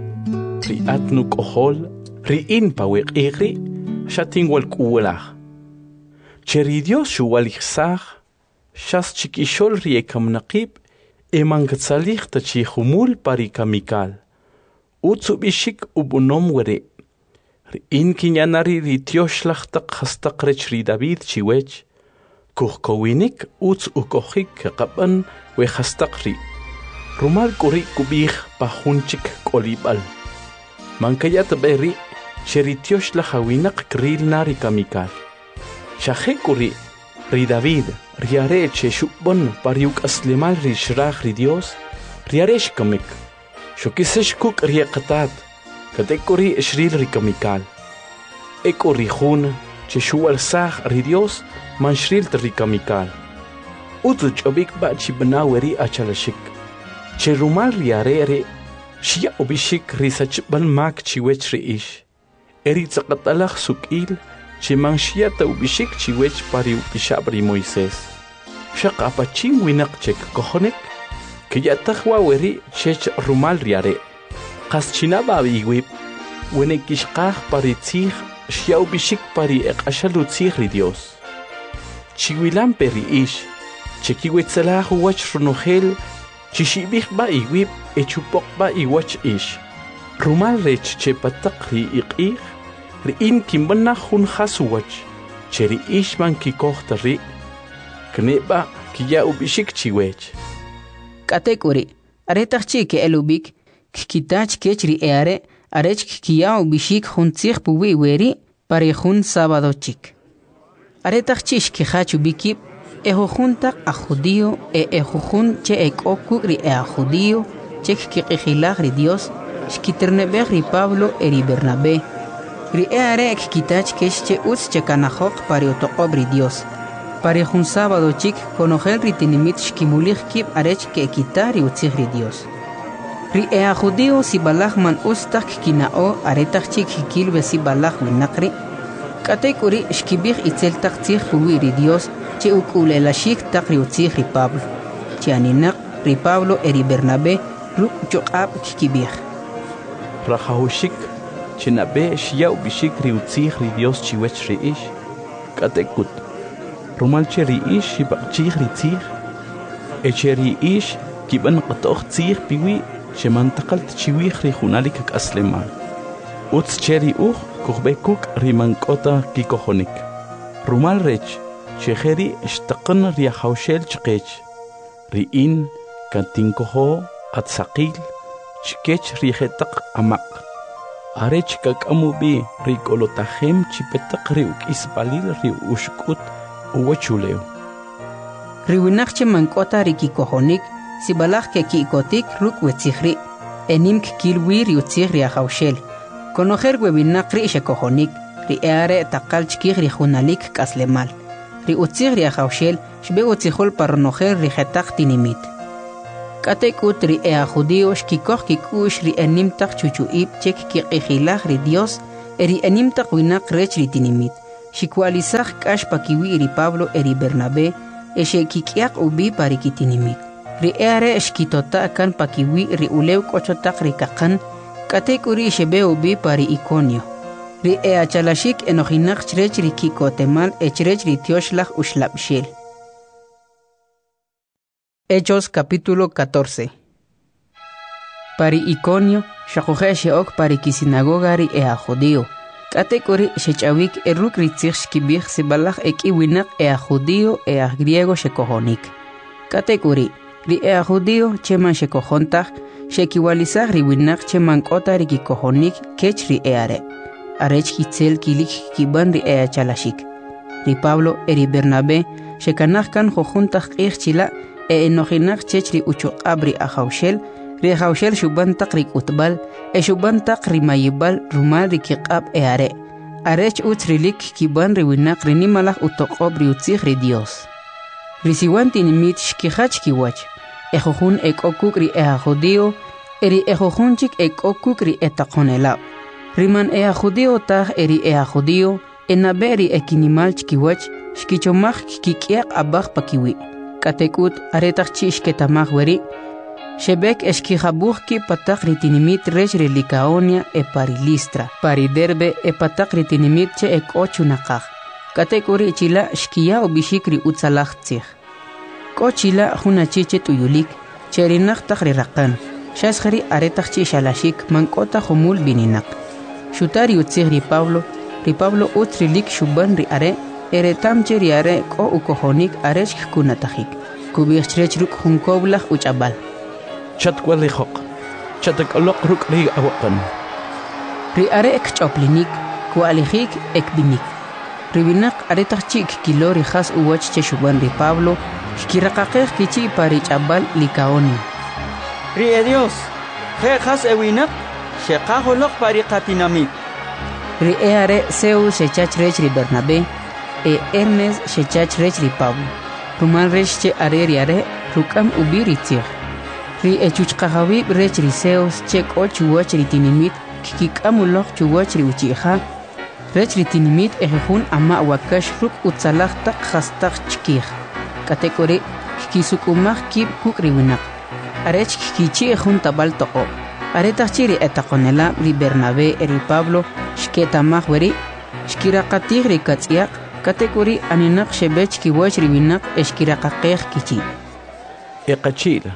Ri at nuk'ojol, ri in pa we q'ij ri' xatinwalk'uwalaj. Che ri Dios xuwa'lijsaj xas chikixo'l ri e kaminaqib' e man katzalij ta chi jumul pa ri kamikal. Utz ub'ixik ub'anom weri'. Ri in kinya na ri' ri tyoxlaj taq jastaq rech ri David chiwech, kujkowinik utz ukojik kaqab'an we jastaq ri'. Rumal k'u ri' kub'ij pa jun chik k'olib'al: Man kaya ta b'e ri' che ri tyoxlaj awinaq kril na ri kamikal. Xa jek'uri', ri David, ri are' che xub'an pa ri uk'aslemal ri xraj ri Dios, ri are' xkamik. Xokisax kuk' ri e qatat, k'atek'uri' xril ri kamikal. Ek'u ri jun che xuwalsaj ri Dios man xril ta ri kamikal. Utz uch'ob'ik b'a' chib'ana weri' achalaxik, che rumal ri are' ri' xya ub'ixik ri sachb'al mak chiwech ri ix, e ri tz'aqatalaj suk'il che man xya ta ub'ixik chiwech pa ri upixab' ri Moisés. Xaq apachin winaq che kkojonik, kya'taj wa' weri' chech rumal ri are'. Qas chinab'a iwib', wene kixqaj pa ri tzij xya ub'ixik pa ri eq'axal utzij ri Dios. Chiwilampe ri ix, che kiwetzelaj uwach ronojel, chixib'ij b'a iwib' e chupoq b'a iwach ix. Rumal rech che pa taq ri iq'ij, ri in kinb'an na jun jas uwach, che ri ix man kikoj ta ri', kneb'a kiya ub'ixik chiwech. K'atek'uri', aretaq chi' ke'el ub'ik, kkita chkech ri e'are' arech kkiya ub'ixik jun tzij puwi' weri' pa ri jun sábado chik. Aretaq chi' xkijach ub'i kib', ejujun taq aj judío e ejujun che ek'o kuk' ri e'ajjudío che kkiq'ijilaj ri Dios, xkiterne'b'ej ri Pablo e ri Bernabé. Ri e'are' kkita chkech che utz chekanajoq pa ri utoq'ob' ri Dios. Pa ri jun sábado chik, konojel ri tinimit xkimulij kib' arech ke'kita ri utzij ri Dios. Ri e'ajjudío sib'alaj man utz taj kkina'o aretaq chi' kkil we sib'alaj winaq ri'. K'atek'uri' xkib'ij itzel taq tzij puwi' ri Dios che uk'ule'laxik taq ri utzij ri Pablo. Chi aninaq, ri Pablo e ri Bernabé ruk' chuq'ab' kkib'ij: Rajawaxik che nab'e xya ub'ixik ri utzij ri Dios chiwech ri ix, k'atek'ut, rumal che ri ix xib'aq'chij ri tzij, e che ri ix kib'an q'atoj tzij piwi' che man taqal ta chiwij ri junalik k'aslemal. Utz che ri uj kujb'e kuk' ri man k'o ta kikojonik. Rumal rech che jeri' xtaqan ri Ajawxel chqech, ri in katinkojo atsaqil chkech ri jetaq amaq', arech kak'am ub'i ri k'olotajem chi petaq ri uk'isb'alil ri uxk'ut uwachulew. Ri winaq che man k'o ta ri kikojonik, sib'alaj keki'kotik ruk' we tzij ri', e nim kkil wi ri utzij ri Ajawxel. Konojel we winaq ri' xekojonik, ri e'are' taqal chkij ri junalik k'aslemal. Ri utzij ri Ajawxel xb'e utzijol pa ronojel ri jetaq tinimit. K'atek'ut ri e'ajjudío xkikoj kik'u'x ri enim taq chuchu'ib' che kkiq'ijilaj ri Dios e ri enim taq winaq rech ri tinimit, xkiwa'lisaj k'ax pakiwi' ri Pablo e ri Bernabé e xe'kik'yaq ub'i pa ri kitinimit. Ri e'are' xkitota' kan pakiwi' ri ulew k'o cho taq ri kaqan, k'atek'uri' xeb'e ub'i pa ri Iconio. Ri e'achalaxik enojinaq chrech ri ki'kotemal e chrech ri Tyoxlaj Uxlab'xel. Hechos capítulo 14. Pa ri Iconio, xoquje' xe'ok pa ri kisinagoga ri e'ajjudío. K'atek'uri' xech'awik e ruk' ri tzij xkib'ij sib'alaj ek'i winaq e'ajjudío e ajgriego xekojonik. K'atek'uri', ri e'ajjudío che man xekojon taj, xe'kiwa'lisaj ri winaq che man k'o ta ri kikojonik kech ri e'are', arech itzel kilik kkib'an ri e'achalaxik. Ri Pablo e ri Bernabé xekanaj kan jujun taq q'ij chila' e enojinaq chech ri uchuq'ab' ri Ajawxel. Ri Ajawxel xub'an taq ri k'utb'al e xub'an taq ri mayib'al rumal ri kiq'ab' e'are', arech utz rilik kkib'an ri winaq ri nimalaj utoq'ob' ri utzij ri Dios. Ri siwan tinimit xkijach kiwach, ejujun ek'o kuk' ri e'ajjudío e ri ejujun chik ek'o kuk' ri etaqonelab'. Ri man e'ajjudío taj e ri e'ajjudío enab'e ri ekinimal chkiwach xkichomaj kkik'yaq ab'aj pakiwi'. K'atek'ut aretaq chi' xketa'maj weri', xeb'ek e xkijab'uj kib' pa taq ri tinimit rech ri Licaonia e pa ri Listra, pa ri Derbe e pa taq ri tinimit che ek'o chunaqaj. K'atek'uri' chila' xkiya ub'ixik ri utzalaj tzij. K'o chila' jun achi che t'uyulik, che erinaq taq ri raqan, xas jeri' aretaq chi' xalaxik man k'o ta jumul b'ininaq. Xuta ri utzij ri Pablo, ri Pablo utz rilik xub'an ri are' e reta'm che ri are' k'o ukojonik arech kkunatajik. Kub'ij chrech ruk' jun kowlaj uch'ab'al: Chatwa'lijoq, chattak'aloq ruk' ri awaqan. Ri are' kch'oplinik, kwa'lijik e kb'inik. Ri winaq aretaq chi' kkilo ri jas uwach che xub'an ri Pablo, kkiraqaqej kichi' pa ri ch'ab'al Licaonio: Ri edyos, je' jas ewinaq, xeqaj uloq pa ri qatinamit. Ri e'are' Zeus xecha chrech ri Bernabé e Hermes xecha chrech ri Pablo, rumal rech che are ri are' ruk'am ub'i ri tzij. Ri echuchqajawib' rech ri Zeus che k'o chuwach ri tinimit kkik'am uloq chuwach ri uchi'ja rech ri tinimit ejujun ama' wakax ruk' utzalaj taq jastaq chkij. K'atek'uri' kkisuk'umaj kib' kuk' ri winaq, arech kkichi'j jun tab'al toq'ob'. Aretaq chi' ri etaqonelab' ri Bernabé e ri Pablo xketa'maj weri', xkiraqatij ri katz'yaq, k'atek'uri' aninaq xeb'e chkiwach ri winaq e xkiraqaqej kichi': Eqachi'l,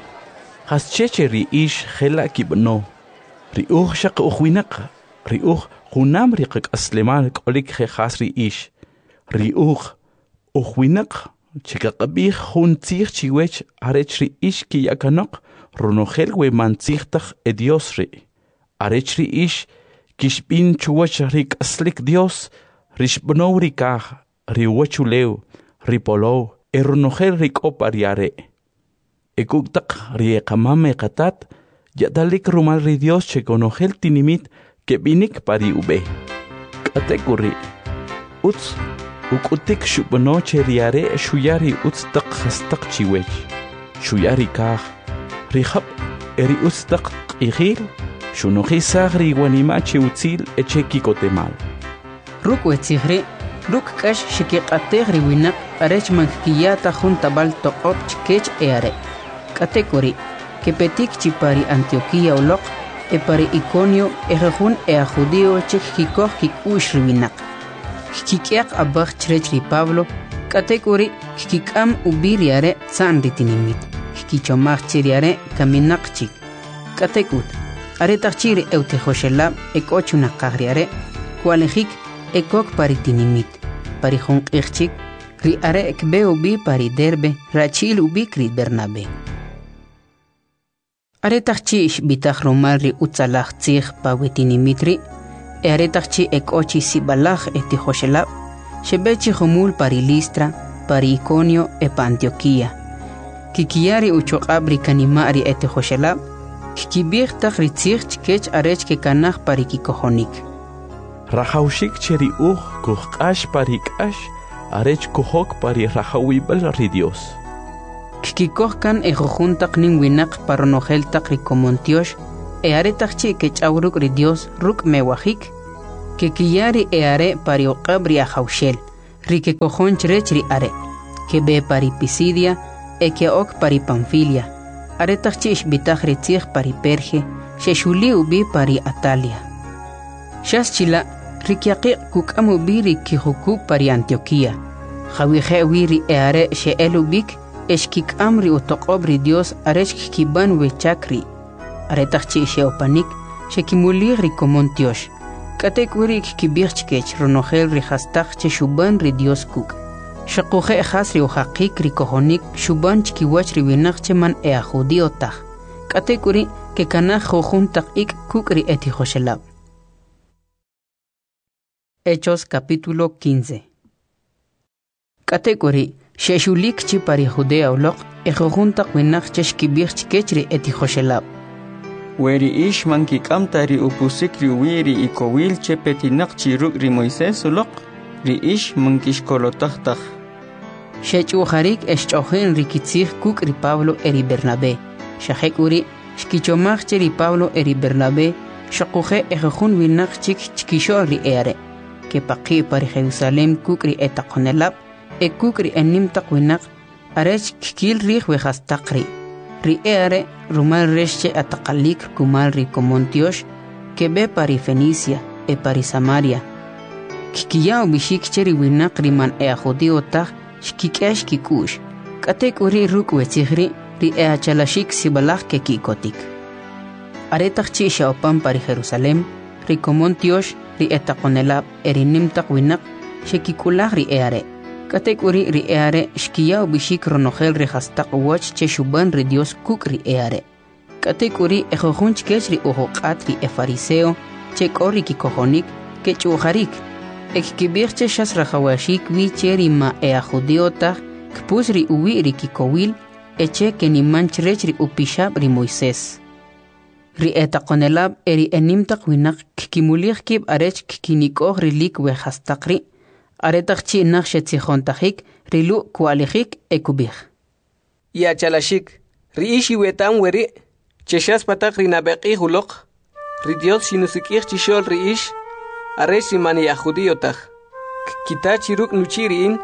jasche che ri ix jela' kib'ano? Ri uj xaq uj winaq, ri uj junam ri qak'aslemal k'olik je' jas ri ix. Ri uj, uj winaq che kaqab'ij jun tzij chiwech arech ri ix kiya kanoq ronojel we man tzij taj edyos ri', arech ri ix kixb'in chuwach ri k'aslik Dios, ri xb'anow ri kaj, ri uwachulew, ri polow e ronojel ri k'o pa ri are'. E kuk' taq ri eqamam eqatat, ya'talik rumal ri Dios che konojel tinimit keb'inik pa ri ub'e. K'atek'uri', utz uk'utik xub'ano che ri are' xuya ri utz taq jastaq chiwech, xuya ri kaj, ri jab' e ri utz taq q'ijil, xunojisaj ri iwanima' che utzil e che ki'kotemal. Ruk' we tzij ri', ruk' k'ax xekiq'atej ri winaq arech man kkiya ta jun tab'al toq'ob' chkech e'are'. K'atek'uri', kepetik chi pa ri Antioquía uloq e pa ri Iconio ejujun e'ajjudío che kkikoj kik'u'x ri winaq. Kkik'yaq ab'aj chrech ri Pablo, k'atek'uri' kkik'am ub'i ri are' tza'n ri tinimit, kkichomaj che ri are' kaminaq chik. K'atek'ut, aretaq chi' ri e'utijoxelab' ek'o chunaqaj ri are', kwa'lijik e kok pa ri tinimit. Pa ri jun q'ij chik, ri are' kb'e ub'i pa ri Derbe rachi'l ub'ik ri Bernabé. Aretaq chi' xb'itaj rumal ri utzalaj tzij pa we tinimit ri', e aretaq chi' ek'o chi sib'alaj etijoxelab', xeb'e chi jumul pa ri Listra, pa ri Iconio e pa Antioquía. Kkiya ri uchuq'ab' ri kanima' ri etijoxelab', kkib'ij taq ri tzij chkech arech kekanaj pa ri kikojonik. Rajawxik che ri uj kujq'ax pa ri k'ax arech kujok pa ri rajawib'al ri Dios. Kkikoj kan ejujun taq nim winaq pa ronojel taq ri komon tyox e aretaq chi' kech'aw ruk' ri Dios ruk' mewajik, kekiya ri e'are' pa ri uq'ab' ri Ajawxel, ri kekojon chrech ri Are'. Keb'e pa ri Pisidia e ke'ok pa ri Panfilia. Aretaq chi' xb'itaj ri tzij pa ri Perge, xexuli ub'i pa ri Atalia. Xas chila', ri kyaqiq' kuk'am ub'i ri kijukub' pa ri Antioquía, jawije' wi ri e'are' xe'el ub'ik e xkik'am ri utoq'ob' ri Dios arech kkib'an we chak ri'. Aretaq chi' xe'opanik, xekimulij ri komon tyox. K'atek'uri' kkib'ij chkech ronojel ri jastaq che xub'an ri Dios kuk'. Xoquje' jas ri ujaqik ri kojonik xub'an chkiwach ri winaq che man e'ajjudío taj. K'atek'uri' kekanaj jujun taq ik' kuk' ri etijoxelab'. Hechos capítulo 15. K'atek'uri', xe'xulik chi pa ri Judea uloq ejujun taq winaq che xkib'ij chkech ri etijoxelab'. We ri ix man kik'am ta ri upusik ri uwi' ri ikowil che petinaq chi ruk' ri Moisés uloq, ri ix man kixkolotaj taj. Xech'u'jarik e xch'o'jin ri kitzij kuk' ri Pablo e ri Bernabé. Xa jek'uri' xkichomaj che ri Pablo e ri Bernabé xoquje' ejujun winaq chik chkixo'l ri e'are', kepaqi' pa ri Jerusalem kuk' ri etaqonelab' e kuk' ri enim taq winaq arech kkil rij we jastaq ri'. Ri e'are' rumal rech che ataqalik kumal ri komon tyox, keb'e pa ri Fenicia e pa ri Samaria. Kkiya ub'ixik che ri winaq ri man e'ajjudío taj xkik'ex kik'u'x. K'atek'uri' ruk' we tzij ri', ri e'achalaxik sib'alaj keki'kotik. Aretaq chi' xe'opan pa ri Jerusalem, ri komon tyox, ri etaqonelab' e ri nim taq winaq xekik'ulaj ri e'are'. K'atek'uri' ri e'are' xkiya ub'ixik ronojel ri jastaq uwach che xub'an ri Dios kuk' ri e'are'. K'atek'uri' ejujun chkech ri ujuq'at ri efariseo che k'o ri kikojonik kech'u'jarik e kkib'ij che xas rajawaxik wi che ri ma e'ajjudío taj kpus ri uwi' ri kikowil e che keniman chrech ri upixab' ri Moisés. Ri etaqonelab' e ri enim taq winaq kkimulij kib' arech kkinik'oj rilik we jastaq ri'. Aretaq chi' naj xetzijontajik, ri Lu' kwa'lijik e kub'ij: I'achalaxik, ri ix iweta'm weri', che xas pa taq ri nab'e q'ij uloq, ri Dios xinusik'ij chixo'l ri ix, arech ri man e'ajjudío taj, kkita chi ruk' nuchi' ri in,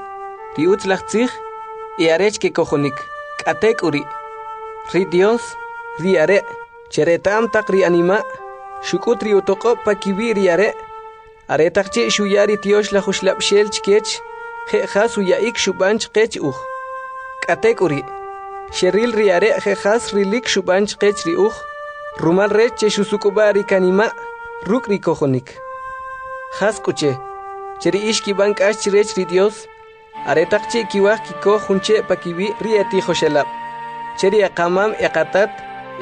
ri utzalaj tzij, e arech kekojonik. K'atek'uri', ri Dios, ri Are' che reta'm taq ri anima', xuk'ut ri utoq'ob' pakiwi' ri Are', aretaq chi' xuya ri Tyoxlaj Uxlab'xel chkech, je' jas uya'ik xub'an chqech uj. K'atek'uri', xeril ri Are' je' jas rilik xub'an chqech ri uj, rumal rech che xusuk'ub'a' ri kanima' ruk' ri kojonik. Jas k'u che, che ri ix kib'an k'ax chrech ri Dios, aretaq chi' kiwaj kikoj jun che' pakiwi' ri etijoxelab', che ri eqamam eqatat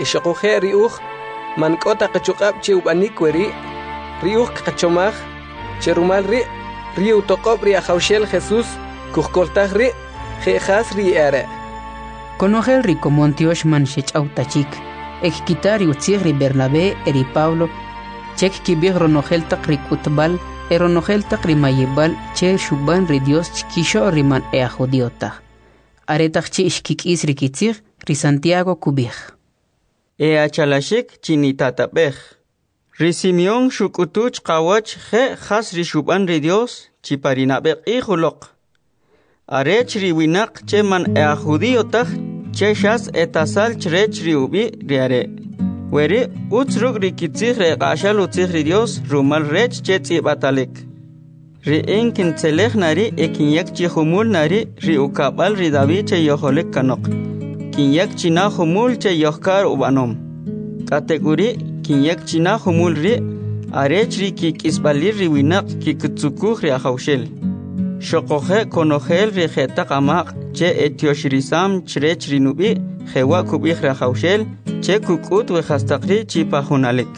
e xoquje' ri uj man k'o ta qachuq'ab' che ub'anik weri', ri uj kqachomaj che rumal ri' ri utoq'ob' ri Ajawxel Jesús kujkoltaj ri' je' jas ri e'are'. Konojel ri komon tyox man xech'aw ta chik, e kkita ri utzij ri Bernabé e ri Pablo che kkib'ij ronojel taq ri k'utb'al e ronojel taq ri mayib'al che xub'an ri Dios chkixo'l ri man e'ajjudío taj. Aretaq chi' xkik'is ri kitzij, ri Santiago kub'ij: E'achalaxik chinitatab'ej. Ri Simeón xuk'utu chqawach je' jas ri xub'an ri Dios chi pa ri nab'e q'ij uloq, arech ri winaq che man e'ajjudío taj che xas etasal chrech ri ub'i' ri Are'. Weri' utz ruk' ri kitzij ri eq'axal utzij ri Dios rumal rech che tz'ib'atalik. Ri in kintzelej na ri' e kinyak chi jumul na ri' ri ukab'al ri David che yojolik kanoq. Kinyak chi na jumul che yojkar ub'anom. K'atek'uri' kinyak chi na jumul ri' arech ri kik'isb'alil ri winaq kikitzukuj ri Ajawxel. Xoquje' konojel ri jetaq amaq' che etyoxirisam chrech ri nub'i', jewa' kub'ij ri Ajawxel che kuk'ut we jastaq ri' chi pa junalik.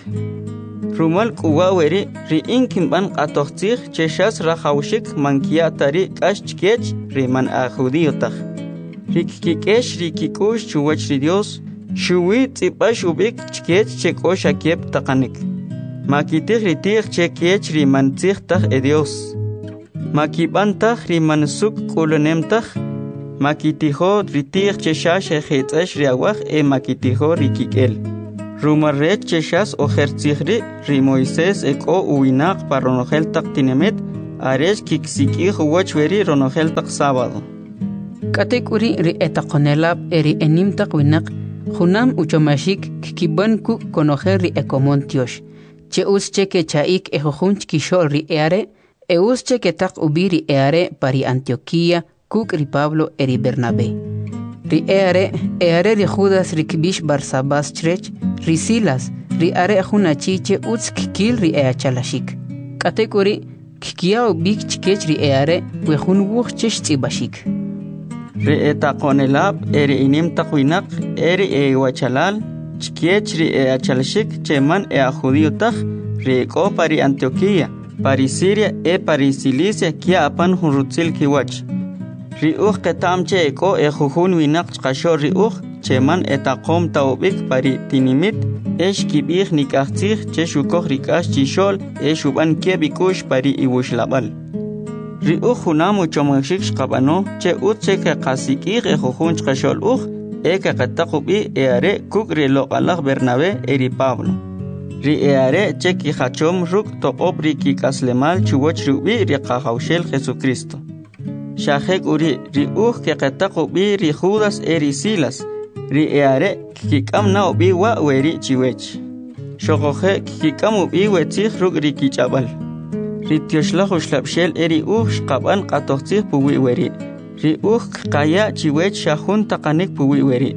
Rumal k'u wa' weri' ri in kinb'an q'atoj tzij che xas rajawxik man kya' ta ri k'ax chkech ri man ajjudío taj. Ri kkik'ex ri kik'u'x chuwach ri Dios, xuwi tz'ib'ax ub'ik chkech che k'o xa keb' taqanik. Makitij ri ti'j che kech ri man tzij taj e Dios. Makib'an taj ri man suk' k'ulanem taj, makitijo ri ti'j che xa xejitz'ex ri awaj e makitijo ri kik'el. Rumal rech che xas ojer tzij ri' ri Moisés e k'o uwinaq pa ronojel taq tinimit arech kiksik'ij uwach weri' ronojel taq sábado. K'atek'uri' ri etaqonelab' e ri enim taq winaq junam uchomaxik kkib'an kuk' konojel ri ekomon tyox, che utz che kecha'ik ejujun chkixo'l ri e'are', e utz che ketaq ub'i ri e'are' pa ri Antioquía kuk' ri Pablo e ri Bernabé. Ri e'are' e'are ri Judas ri kb'ix Barsabás chrech, ri Silas, ri are' jun achi che utz kkil ri e'achalaxik. K'atek'uri' kkiya ub'ik chkech ri e'are' we jun wuj che xtz'ib'axik. Ri etaqonelab' e ri enim taq winaq e ri ewachalal chkech ri e'achalaxik che man e'ajjudío taj, ri ek'o pa ri Antioquía, pa ri Siria e pa ri Cilicia kya apan jun rutzil kiwach. Ri uj qeta'm che ek'o ejujun winaq chqaxo'l ri uj che man etaqom ta ub'ik pa ri tinimit e xkib'ij nik'aj tzij che xukoj ri k'ax chixo'l e xub'an keb' ik'u'x pa ri iwuxlab'al. Ri uj junam uchomaxik xqab'ano che utz che keqasik'ij ejujun chqaxo'l uj e keqetaq ub'i e'are' kuk' ri loq'alaj Bernabé e ri Pablo. Ri e'are' che kijachom ruk' toq'ob' ri kik'aslemal chuwach ri ub'i' ri Qajawxel Jesucristo. Xa jek'uri' ri uj keqetaq ub'i ri Judas e ri Silas, ri e'are' kkik'am na ub'i wa' weri' chiwech. Xoquje' kkik'am ub'i we tzij ruk' ri kich'ab'al. Ri Tyoxlaj Uxlab'xel e ri uj xqab'an q'atoj tzij puwi' weri'. Ri uj kqaya' chiwech xa jun taqanik puwi' weri'.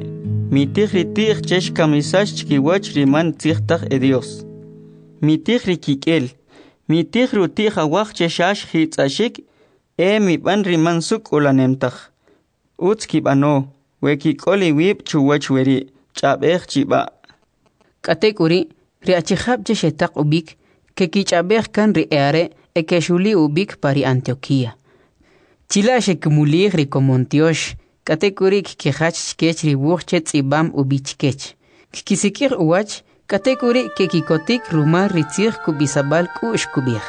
Mitij ri ti'j che xkamisax chkiwach ri man tzij taj e Dios. Mitij ri kik'el, mitij ri uti'j awaj che xa xjitz'axik e mib'an ri man suk' k'ulanem taj. Utz kib'ano, we kik'ol iwib' chuwach weri', ch'ab'ej chib'a'. K'atek'uri', ri achijab' che xetaq ub'ik, kekich'ab'ej kan ri e'are' e kexuli ub'ik pa ri Antioquía. Chila' xekimulij ri komon tyox, k'atek'uri' kkijach chkech ri wuj che tz'ib'am ub'i chkech. Kkisik'ij uwach, k'atek'uri' kekikotik rumal ri tzij kub'isab'al k'u'x kub'ij.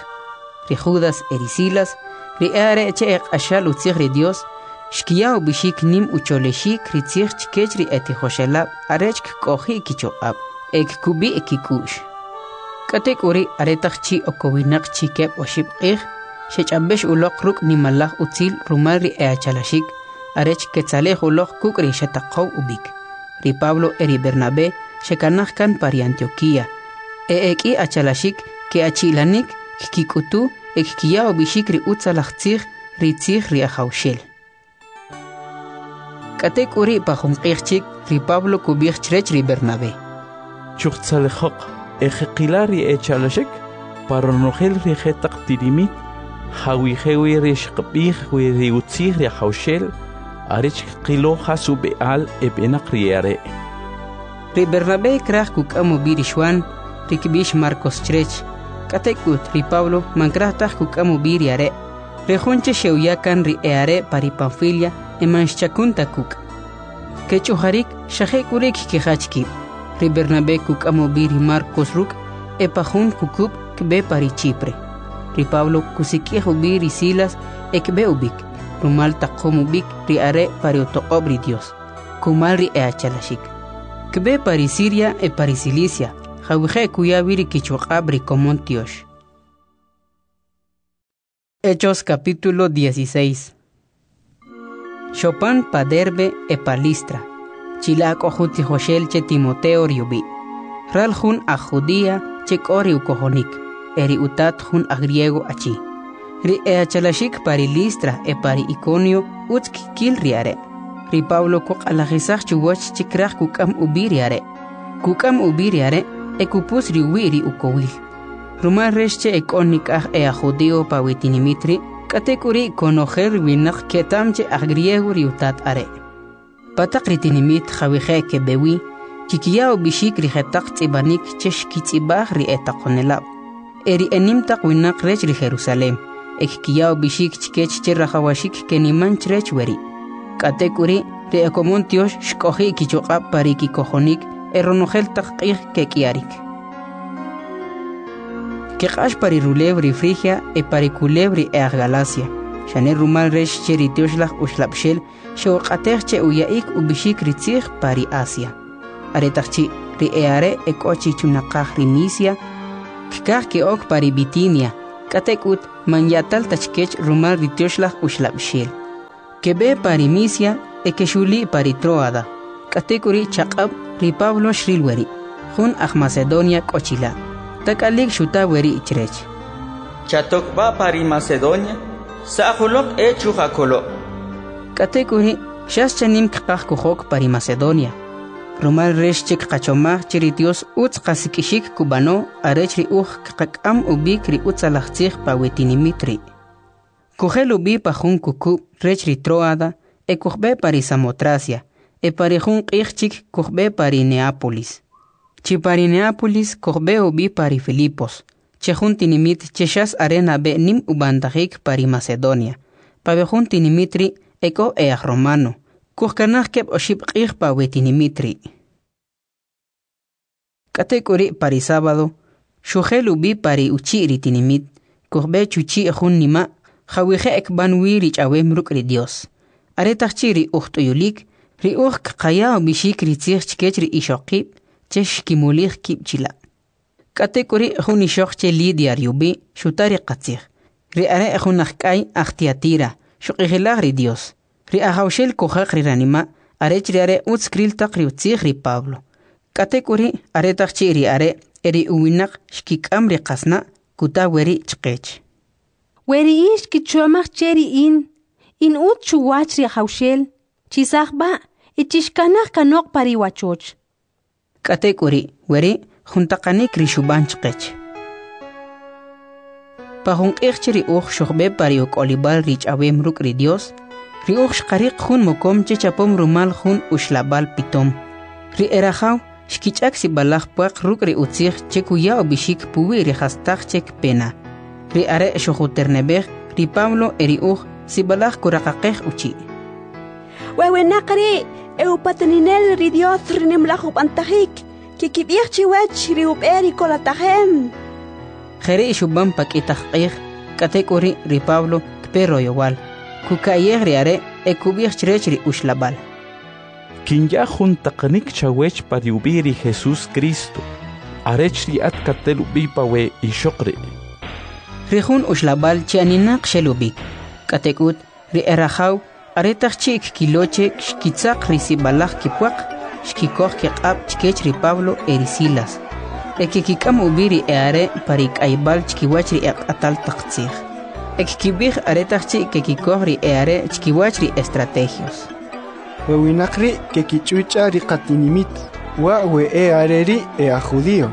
Ri Judas e ri Silas, ri e'are' che eq'axal utzij ri Dios, xkiya ub'ixik nim ucholexik ri tzij chkech ri etijoxelab' arech kk'oji' kichuq'ab' e kkub'i' kik'u'x. K'atek'uri' aretaq chi' okowinaq chi keb' oxib' q'ij, xech'ab'ex uloq ruk' nimalaj utzil rumal ri e'achalaxik, arech ketzalej uloq kuk' ri xetaqow ub'ik. Ri Pablo e ri Bernabé xekanaj kan pa ri Antioquía. E ek'i achalaxik ke'achi'lanik kkik'utu e kkiya ub'ixik ri utzalaj tzij, ri tzij ri Ajawxel. K'atek'uri' pa jun q'ij chik, ri Pablo kub'ij chrech ri Bernabé: Chujtzalejoq e jeqila ri echalaxik pa ronojel ri jetaq tinimit jawije' wi ri xqab'ij wi ri utzij ri Ajawxel arech kqilo jas ub'e'al eb'enaq ri e'are'. Ri Bernabé kraj kuk'am ub'i ri Xuan, ri kb'ix Marcos chrech. K'atek'ut ri Pablo man kraj taj kuk'am ub'i ri are', ri jun che xe'uya kan ri e'are' pa ri Panfilia e man xchakun ta kuk'. Kech'ujarik xa jek'uri' kkijach kib'. Ri Bernabé kuk'am ub'i ri Marcos ruk' e pa jun jukub' kb'e pa ri Chipre. Ri Pablo kusik'ij ub'i ri Silas e kb'e ub'ik, rumal taqom ub'ik ri are' pa ri utoq'ob' ri Dios, kumal ri e'achalaxik. Kb'e pa ri Siria e pa ri Cilicia, jawije' kuya wi ri kichuq'ab' ri komon tyox. Hechos capítulo 16. Xopan pa Derbe e pa Listra. Chila' k'o jun tijoxel che Timoteo ri ub'i'. Ral jun aj Judía che k'o ri ukojonik, e ri utat jun aj griego achi. Ri e'achalaxik pa ri Listra e pa ri Iconio utz kkil ri are'. Ri Pablo kuq'alajisaj chuwach che kraj kuk'am ub'i ri are'. Kuk'am ub'i ri are' e kupus ri uwi' ri ukowil. Rumal rech che ek'o nik'aj e'aj judío pa wi tinimit ri', k'atek'uri' konojel ri winaq keta'm che aj griego ri utat are'. Pa taq ri tinimit jawije' keb'e wi, kikiya ub'ixik ri jetaq tz'ib'anik che xkitz'ib'aj ri etaqonelab', e ri enim taq winaq rech ri Jerusalem, e kkiya ub'ixik chkech che rajawaxik keniman chrech weri'. K'atek'uri' ri ekomon tyox xk'oji' kichuq'ab' pa ri kikojonik e ronojel taq q'ij kek'iyarik. Keq'ax pa ri rulew ri Frigia e pa ri kulew ri e'aj Galacia. xane rumal rech che ri Tyoxlaj Uxlab'xel xe'uq'atej che uya'ik ub'ixik ri tzij pa ri Asia. Aretaq chi' ri e'are' ek'o chi chunaqaj ri Misia, kkaj ke'ok pa ri Bitinia, k'atek'ut man ya'tal ta chkech rumal ri Tyoxlaj Uxlab'xel. Keb'e pa ri Misia e kexuli' pa ri Troada. K'atek'uri' chaq'ab' ri Pablo xril weri', jun aj Macedonia k'o chila'. Tak'alik xuta weri' chrech: Chatok b'a pa ri Macedonia, sa'j uloq e chujakolo'. K'atek'uri' xas chanim kqaj kujok pa ri Macedonia, rumal rech che kqachomaj che ri Dios utz qasik'ixik kub'ano arech ri uj kqak'am ub'ik ri utzalaj tzij pa we tinimit ri'. Kujel ub'i pa jun kukub' rech ri Troada e kujb'e pa ri Samotracia, e pa ri jun q'ij chik kujb'e pa ri Neápolis. Chi pa ri Neápolis kujb'e ub'i pa ri Filipos, che jun tinimit che xas are nab'e nim ub'antajik pa ri Macedonia. Pa we jun tinimit ri' ek'o e'ajromano. Kujkanaj keb' oxib' q'ij pa we tinimit ri'. K'atek'uri' pa ri sábado, xujel ub'i pa ri uchi' ri tinimit, kujb'e chuchi' jun nima' jawije' kb'an wi ri ch'awem ruk' ri Dios. Aretaq chi' ri uj t'uyulik, ri uj kqaya ub'ixik ri tzij chkech ri ixoqib' che xkimulij kib' chila'. K'atek'uri' jun ixoq che Lidia ri ub'i' xuta ri qatzij. Ri are' jun ajk'ay aj Tiatira, xuq'ijilaj ri Dios. Ri Ajawxel kujaq ri ranima' arech ri are' utz kril taq ri utzij ri Pablo. K'atek'uri' aretaq chi' ri are' e ri uwinaq xkik'am ri qasna' kuta weri' chqech. We ri ix kichomaj che ri in, in utz chuwach ri Ajawxel, chisaj b'a' e chixkanaj kanoq pa ri wachoch. K'atek'uri' weri' jun taqanik ri xub'an chqech. Pa jun q'ij che ri uj xujb'e pa ri uk'olib'al ri ch'awem ruk' ri Dios, ri uj xqariq jun mokom che chapom rumal jun uxlab'al pitom. Ri e rajaw xkich'ak sib'alaj pwaq ruk' ri utzij che kuya ub'ixik puwi' ri jastaq che kpe na. Ri are' xujuterneb'ej ri Pablo e ri uj sib'alaj kuraqaqej uchi'. We winaq ri' e upataninel ri Dios ri nimlaj ub'antajik, kikib'ij chiwech ri ub'e ri kolatajem. Jeri' xub'an pa k'i taq q'ij, k'atek'uri' ri Pablo kpe royowal, kuka'yej ri are' e kub'ij chrech ri uxlab'al. Kinya jun taqanik chawech pa ri ub'i' ri Jesus Cristo, arech ri at katel ub'i pa we ixoq ri'. Ri jun uxlab'al chi aninaq xel ub'ik, k'atek'ut ri e rajaw aretaq chi' kkilo che xkitzaq ri sib'alaj kipwaq, xkikoj kiq'ab' chkech ri Pablo e ri Silas, e kekik'am ub'i ri e'are' pa ri k'ayb'al chkiwach ri eq'atal taq tzij. E kkib'ij aretaq chi' kekikoj ri e'are' chkiwach ri estrategios. We winaq ri' kekich'uch'a ri qatinimit, wa' we e'are ri' e'aj judío.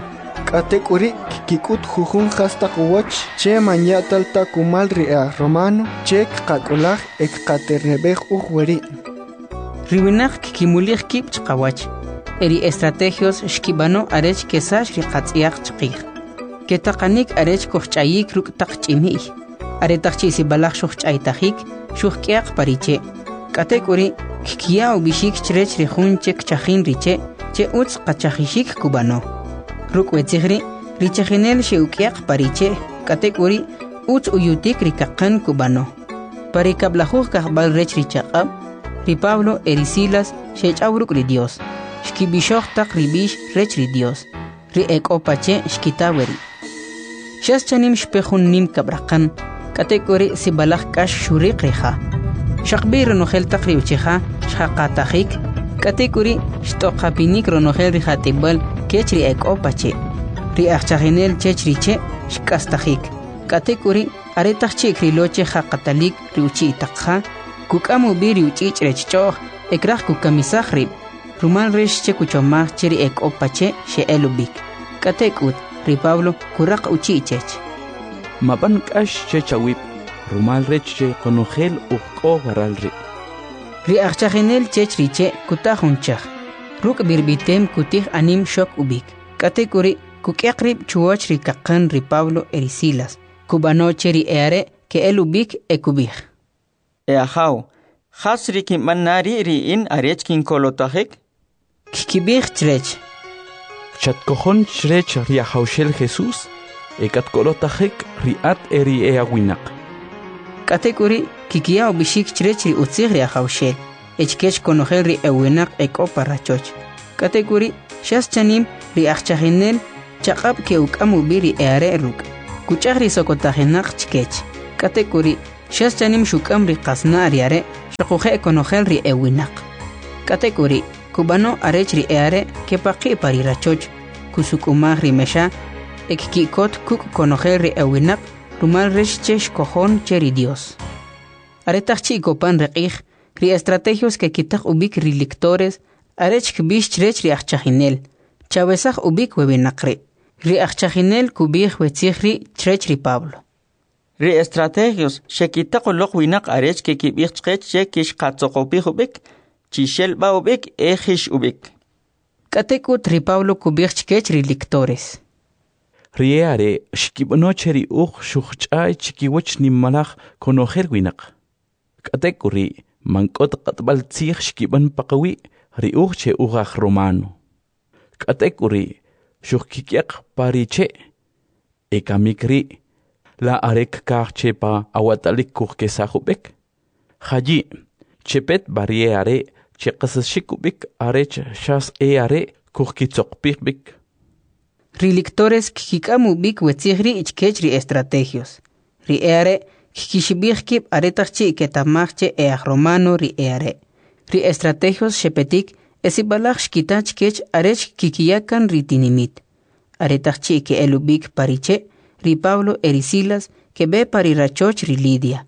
K'atek'uri' kkik'ut jujun jastaq uwach che man ya'tal ta kumal ri e'aj romano che kqak'ulaj e kqaterneb'ej uj weri'. Ri winaq kkimulij kib' chqawach, e ri estrategios xkib'ano arech kesax ri qatz'yaq chqij. Ketaqanik arech kujch'ayik ruk' taq ch'imi'y. Aretaq chi' sib'alaj xujch'aytajik, xujk'yaq pa ri che'. K'atek'uri' kkiya ub'ixik chrech ri jun che kchajin ri che' che utz qachajixik kub'ano. Ruk' we tzij ri', ri chajinel xe'uk'yaq pa ri che', k'atek'uri' utz uyutik ri kaqan kub'ano. Pa ri kab'lajuj kajb'al rech ri chaq'ab', ri Pablo e ri Silas xech'aw ruk' ri Dios, xkib'ixoj taq ri b'ix rech ri Dios. Ri ek'o pa che' xkita weri'. Xas chanim xpe jun nim kab'raqan, k'atek'uri' sib'alaj k'ax xuriq ri ja. Xaqb'i ronojel taq ri uchi'ja xjaqatajik, k'atek'uri' xt'oqapinik ronojel ri jat'ib'al kech ri ek'o pa che'. Ri ajchajinel chech ri che' xk'astajik, k'atek'uri' aretaq chi' krilo che jaqatalik ri uchi' taq ja, kuk'am ub'i ri uch'ich' rech ch'o'j e kraj kukamisaj rib', rumal rech che kuchomaj che ri ek'o pa che' xe'el ub'ik. K'atek'ut ri Pablo kuraq uchi' chech. Mab'an k'ax chech awib', rumal rech che qonojel uj k'o waral ri'. Ri ajchajinel chech ri che' kuta jun chaj, ruk' b'irb'item kutij anim xok ub'ik. K'atek'uri' kuk'yaq rib' chuwach ri kaqan ri Pablo e ri Silas, kub'ano che ri e'are' ke'el ub'ik e kub'ij. E ajaw, jas ri kinb'an na ri' ri in arech kinkolotajik? Kkib'ij chrech. Chatkojon chrech ri Ajawxel Jesus e katkolotajik ri at e ri e'awinaq. K'atek'uri' kikiya ub'ixik chrech ri utzij ri Ajawxel e chkech konojel ri ewinaq ek'o pa rachoch. K'atek'uri' xas chanim ri ajchajinel chaq'ab' ke'uk'am ub'i ri e'are' ruk', kuch'aj ri sokotajinaq chkech. K'atek'uri' xas chanim xuk'am ri qasna' ri are' xoquje' konojel ri ewinaq. K'atek'uri' kub'ano arech ri e'are' kepaqi' pa ri rachoch, kusuk'umaj ri mexa e kki'kot kuk' konojel ri ewinaq rumal rech che xkojon che ri Dios. Aretaq chi' kopan ri q'ij, ri estrategios kekitaq ub'ik ri lictores arech kb'ix chrech ri ajchajinel, chawesaj ub'ik we winaq ri'. Ri ajchajinel kub'ij we tzij ri' chrech ri Pablo. Ri estrategios xekitaq uloq winaq arech kekib'ij chqech che kixqatzoqopij ub'ik, chixel b'a ub'ik e jix ub'ik. K'atek'ut ri Pablo kub'ij chkech ri lictores. Ri e'are' xkib'ano che ri uj xujch'ay chikiwach nimalaj konojel winaq. K'atek'uri' man k'o ta q'atb'al tzij xkib'an paqawi' ri uj che uj aj romano. K'atek'uri' xujkik'yaq pa ri che'. E kamik ri' la are kkaj che pa awatalik kujkesaj ub'ik? Jayi', chepet b'a ri e'are' che qasaxik ub'ik arech xas e'are' kujkitzoqpij b'ik. Ri lictores kkik'am ub'ik we tzij ri' chkech ri estrategios. Ri e'are' kkixib'ij kib' aretaq chi' keta'maj che e'aj romano ri e'are'. Ri estrategios xepetik e sib'alaj xkita chkech arech kikiya kan ri tinimit. Aretaq chi' ke'el ub'ik pa ri che', ri Pablo e ri Silas keb'e pa ri rachoch ri Lidia.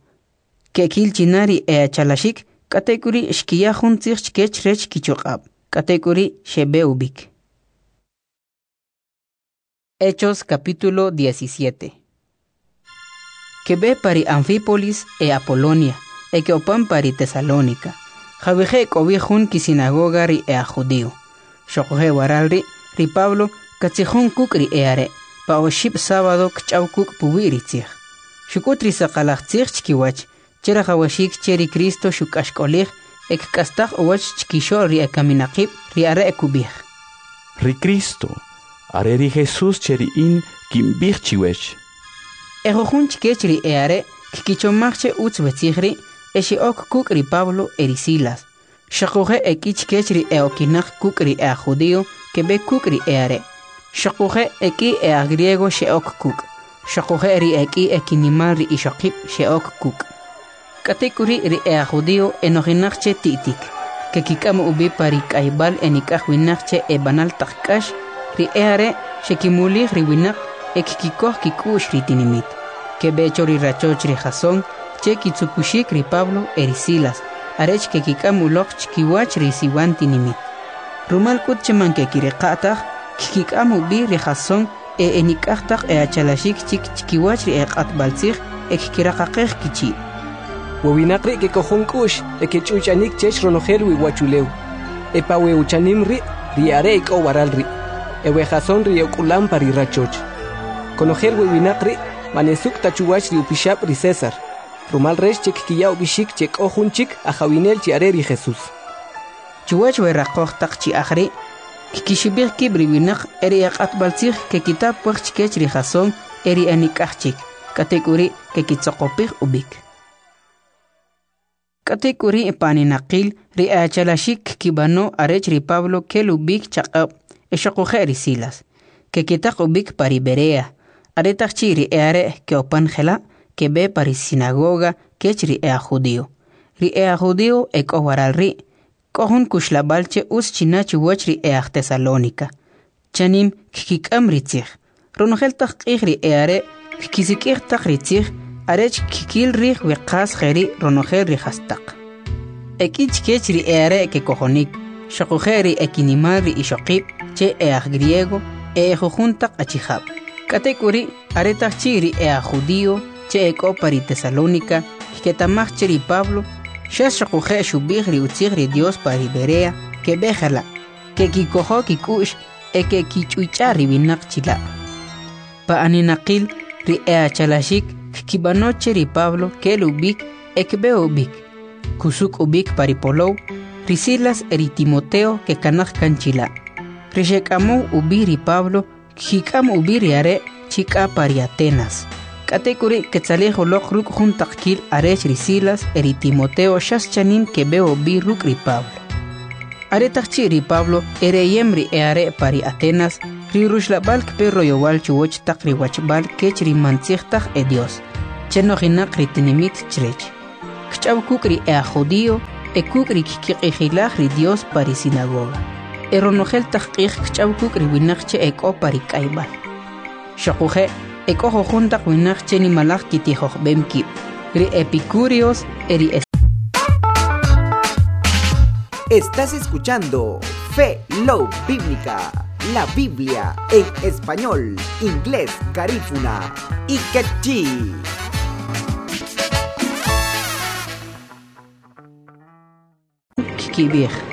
Kekil china ri e'achalaxik, k'atek'uri' xkiya jun tzij chkech rech kichuq'ab', k'atek'uri' xeb'e ub'ik. Hechos capítulo 17. Keb'e pa ri Anfípolis e Apolonia, e ke'opan pa ri Tesalónica. Jawije' k'o wi jun kisinagoga ri e'aj judío. Xoquje' waral ri' ri Pablo katzijon kuk' ri e'are', pa oxib' sábado kch'aw kuk' puwi' ri tzij. Xuk'ut ri saqalaj tzij chkiwach, che rajawaxik che ri Cristo xuk'axk'olij e kk'astaj uwach chkixo'l ri ekaminaqib' ri are' kub'ij. Ri Cristo, are ri Jesús che ri in kinb'ij chiwech. E jujun chkech ri e'are' kkichomaj che utz we tzij ri' e xe'ok kuk' ri Pablo e ri Silas. Xoquje' e k'i chkech ri e'okinaq kuk' ri e'aj judío keb'e kuk' ri e'are'. Xoquje' e k'i e'aj griego xe'ok kuk'. Xoquje' ri e k'i ekinimal ri ixoqib' xe'ok kuk'. K'atek'uri' ri e'aj judío enojinaq che ti'tik. Kekik'am ub'i pa ri k'ayb'al enik'aj winaq che eb'anal taq k'ax, ri e'are' xekimulij ri winaq e kkikoj kik'u'x ri tinimit. Keb'e cho ri rachoch ri Jasón che kitzukuxik ri Pablo e ri Silas, arech kekik'am uloq chkiwach ri siwan tinimit. Rumal k'ut che man kekiriqa' taj, kkik'am ub'i ri Jasón e enik'aj taq e'achalaxik chik chkiwach ri eq'atb'al tzij e kkiraqaqej kichi'. We winaq ri' kekojon k'u'x e kech'uch'anik chech ronojel wi uwachulew. E pa we uchanim ri' ri e'are' ek'o waral ri'. E we Jasón ri e'uk'ulam pa ri rachoch. Konojel we winaq ri' man esuk' ta chuwach ri upixab' ri César, rumal rech che kkiya ub'ixik che k'o jun chik ajawinel chi are ri Jesús. Chuwach we raqoj taq chi'aj ri', kkixib'ij kib' ri winaq e ri eq'atb'al tzij kekita pwaq chkech ri Jasón e ri enik'aj chik, k'atek'uri' kekitzoqopij ub'ik. K'atek'uri' pa aninaqil ri e'achalaxik kkib'ano arech ri Pablo kel ub'ik chaq'ab' e xoquje' ri Silas. Kekitaq ub'ik pa ri Berea. Aretaq chi' ri e'are' ke'opan jela', keb'e pa ri sinagoga kech ri e'aj judío. Ri e'aj judío ek'o waral ri', k'o jun kuxlab'al che utz china chuwach ri e'aj Tesalónica. Chanim kkik'am ri tzij. Ronojel taq q'ij ri e'are' kkisik'ij taq ri tzij arech kkil rij we qas jeri' ronojel ri jastaq. E k'i chkech ri e'are' kekojonik, xoquje' ri ekinimal ri ixoqib' che e'aj griego e ejujun taq achijab'. K'atek'uri' aretaq chi' ri e'aj judío che ek'o pa ri Tesalónica kketa'maj che ri Pablo xas xoquje' xub'ij ri utzij ri Dios pa ri Berea keb'e jela', kekikojo kik'u'x e kekich'uch'a ri winaq chila'. Pa aninaqil ri e'achalaxik kkib'ano che ri Pablo kel ub'ik e kb'e ub'ik. Kusuk' ub'ik pa ri polow, ri Silas e ri Timoteo kekanaj kan chila'. Ri xek'amow ub'i ri Pablo kkik'am ub'i ri are' chi k'a pa ri Atenas. K'atek'uri' ketzalij uloq ruk' jun taqkil arech ri Silas e ri Timoteo xas chanim keb'e ub'i ruk' ri Pablo. Aretaq chi' ri Pablo ereyem ri e'are' pa ri Atenas, ri ruxlab'al kpe royowal chuwach taq ri wachb'al kech ri man tzij taj edyos, che nojinaq ri tinimit chrech. Kch'aw kuk' ri e'ajjudi'o e kuk' ri kkiq'ijilaj ri Dyos pa ri sinagoga. E ronojel taq q'ij kch'aw kuk' ri winaq che ek'o pa ri k'ayb'al. Xoquje', ek'o jujun taq winaq che nimalaj kitijojb'em kib', ri epikúreos e ri Estás escuchando Fe Low Bíblica, la Biblia en español, inglés, garífuna y quechí. Kkib'ij.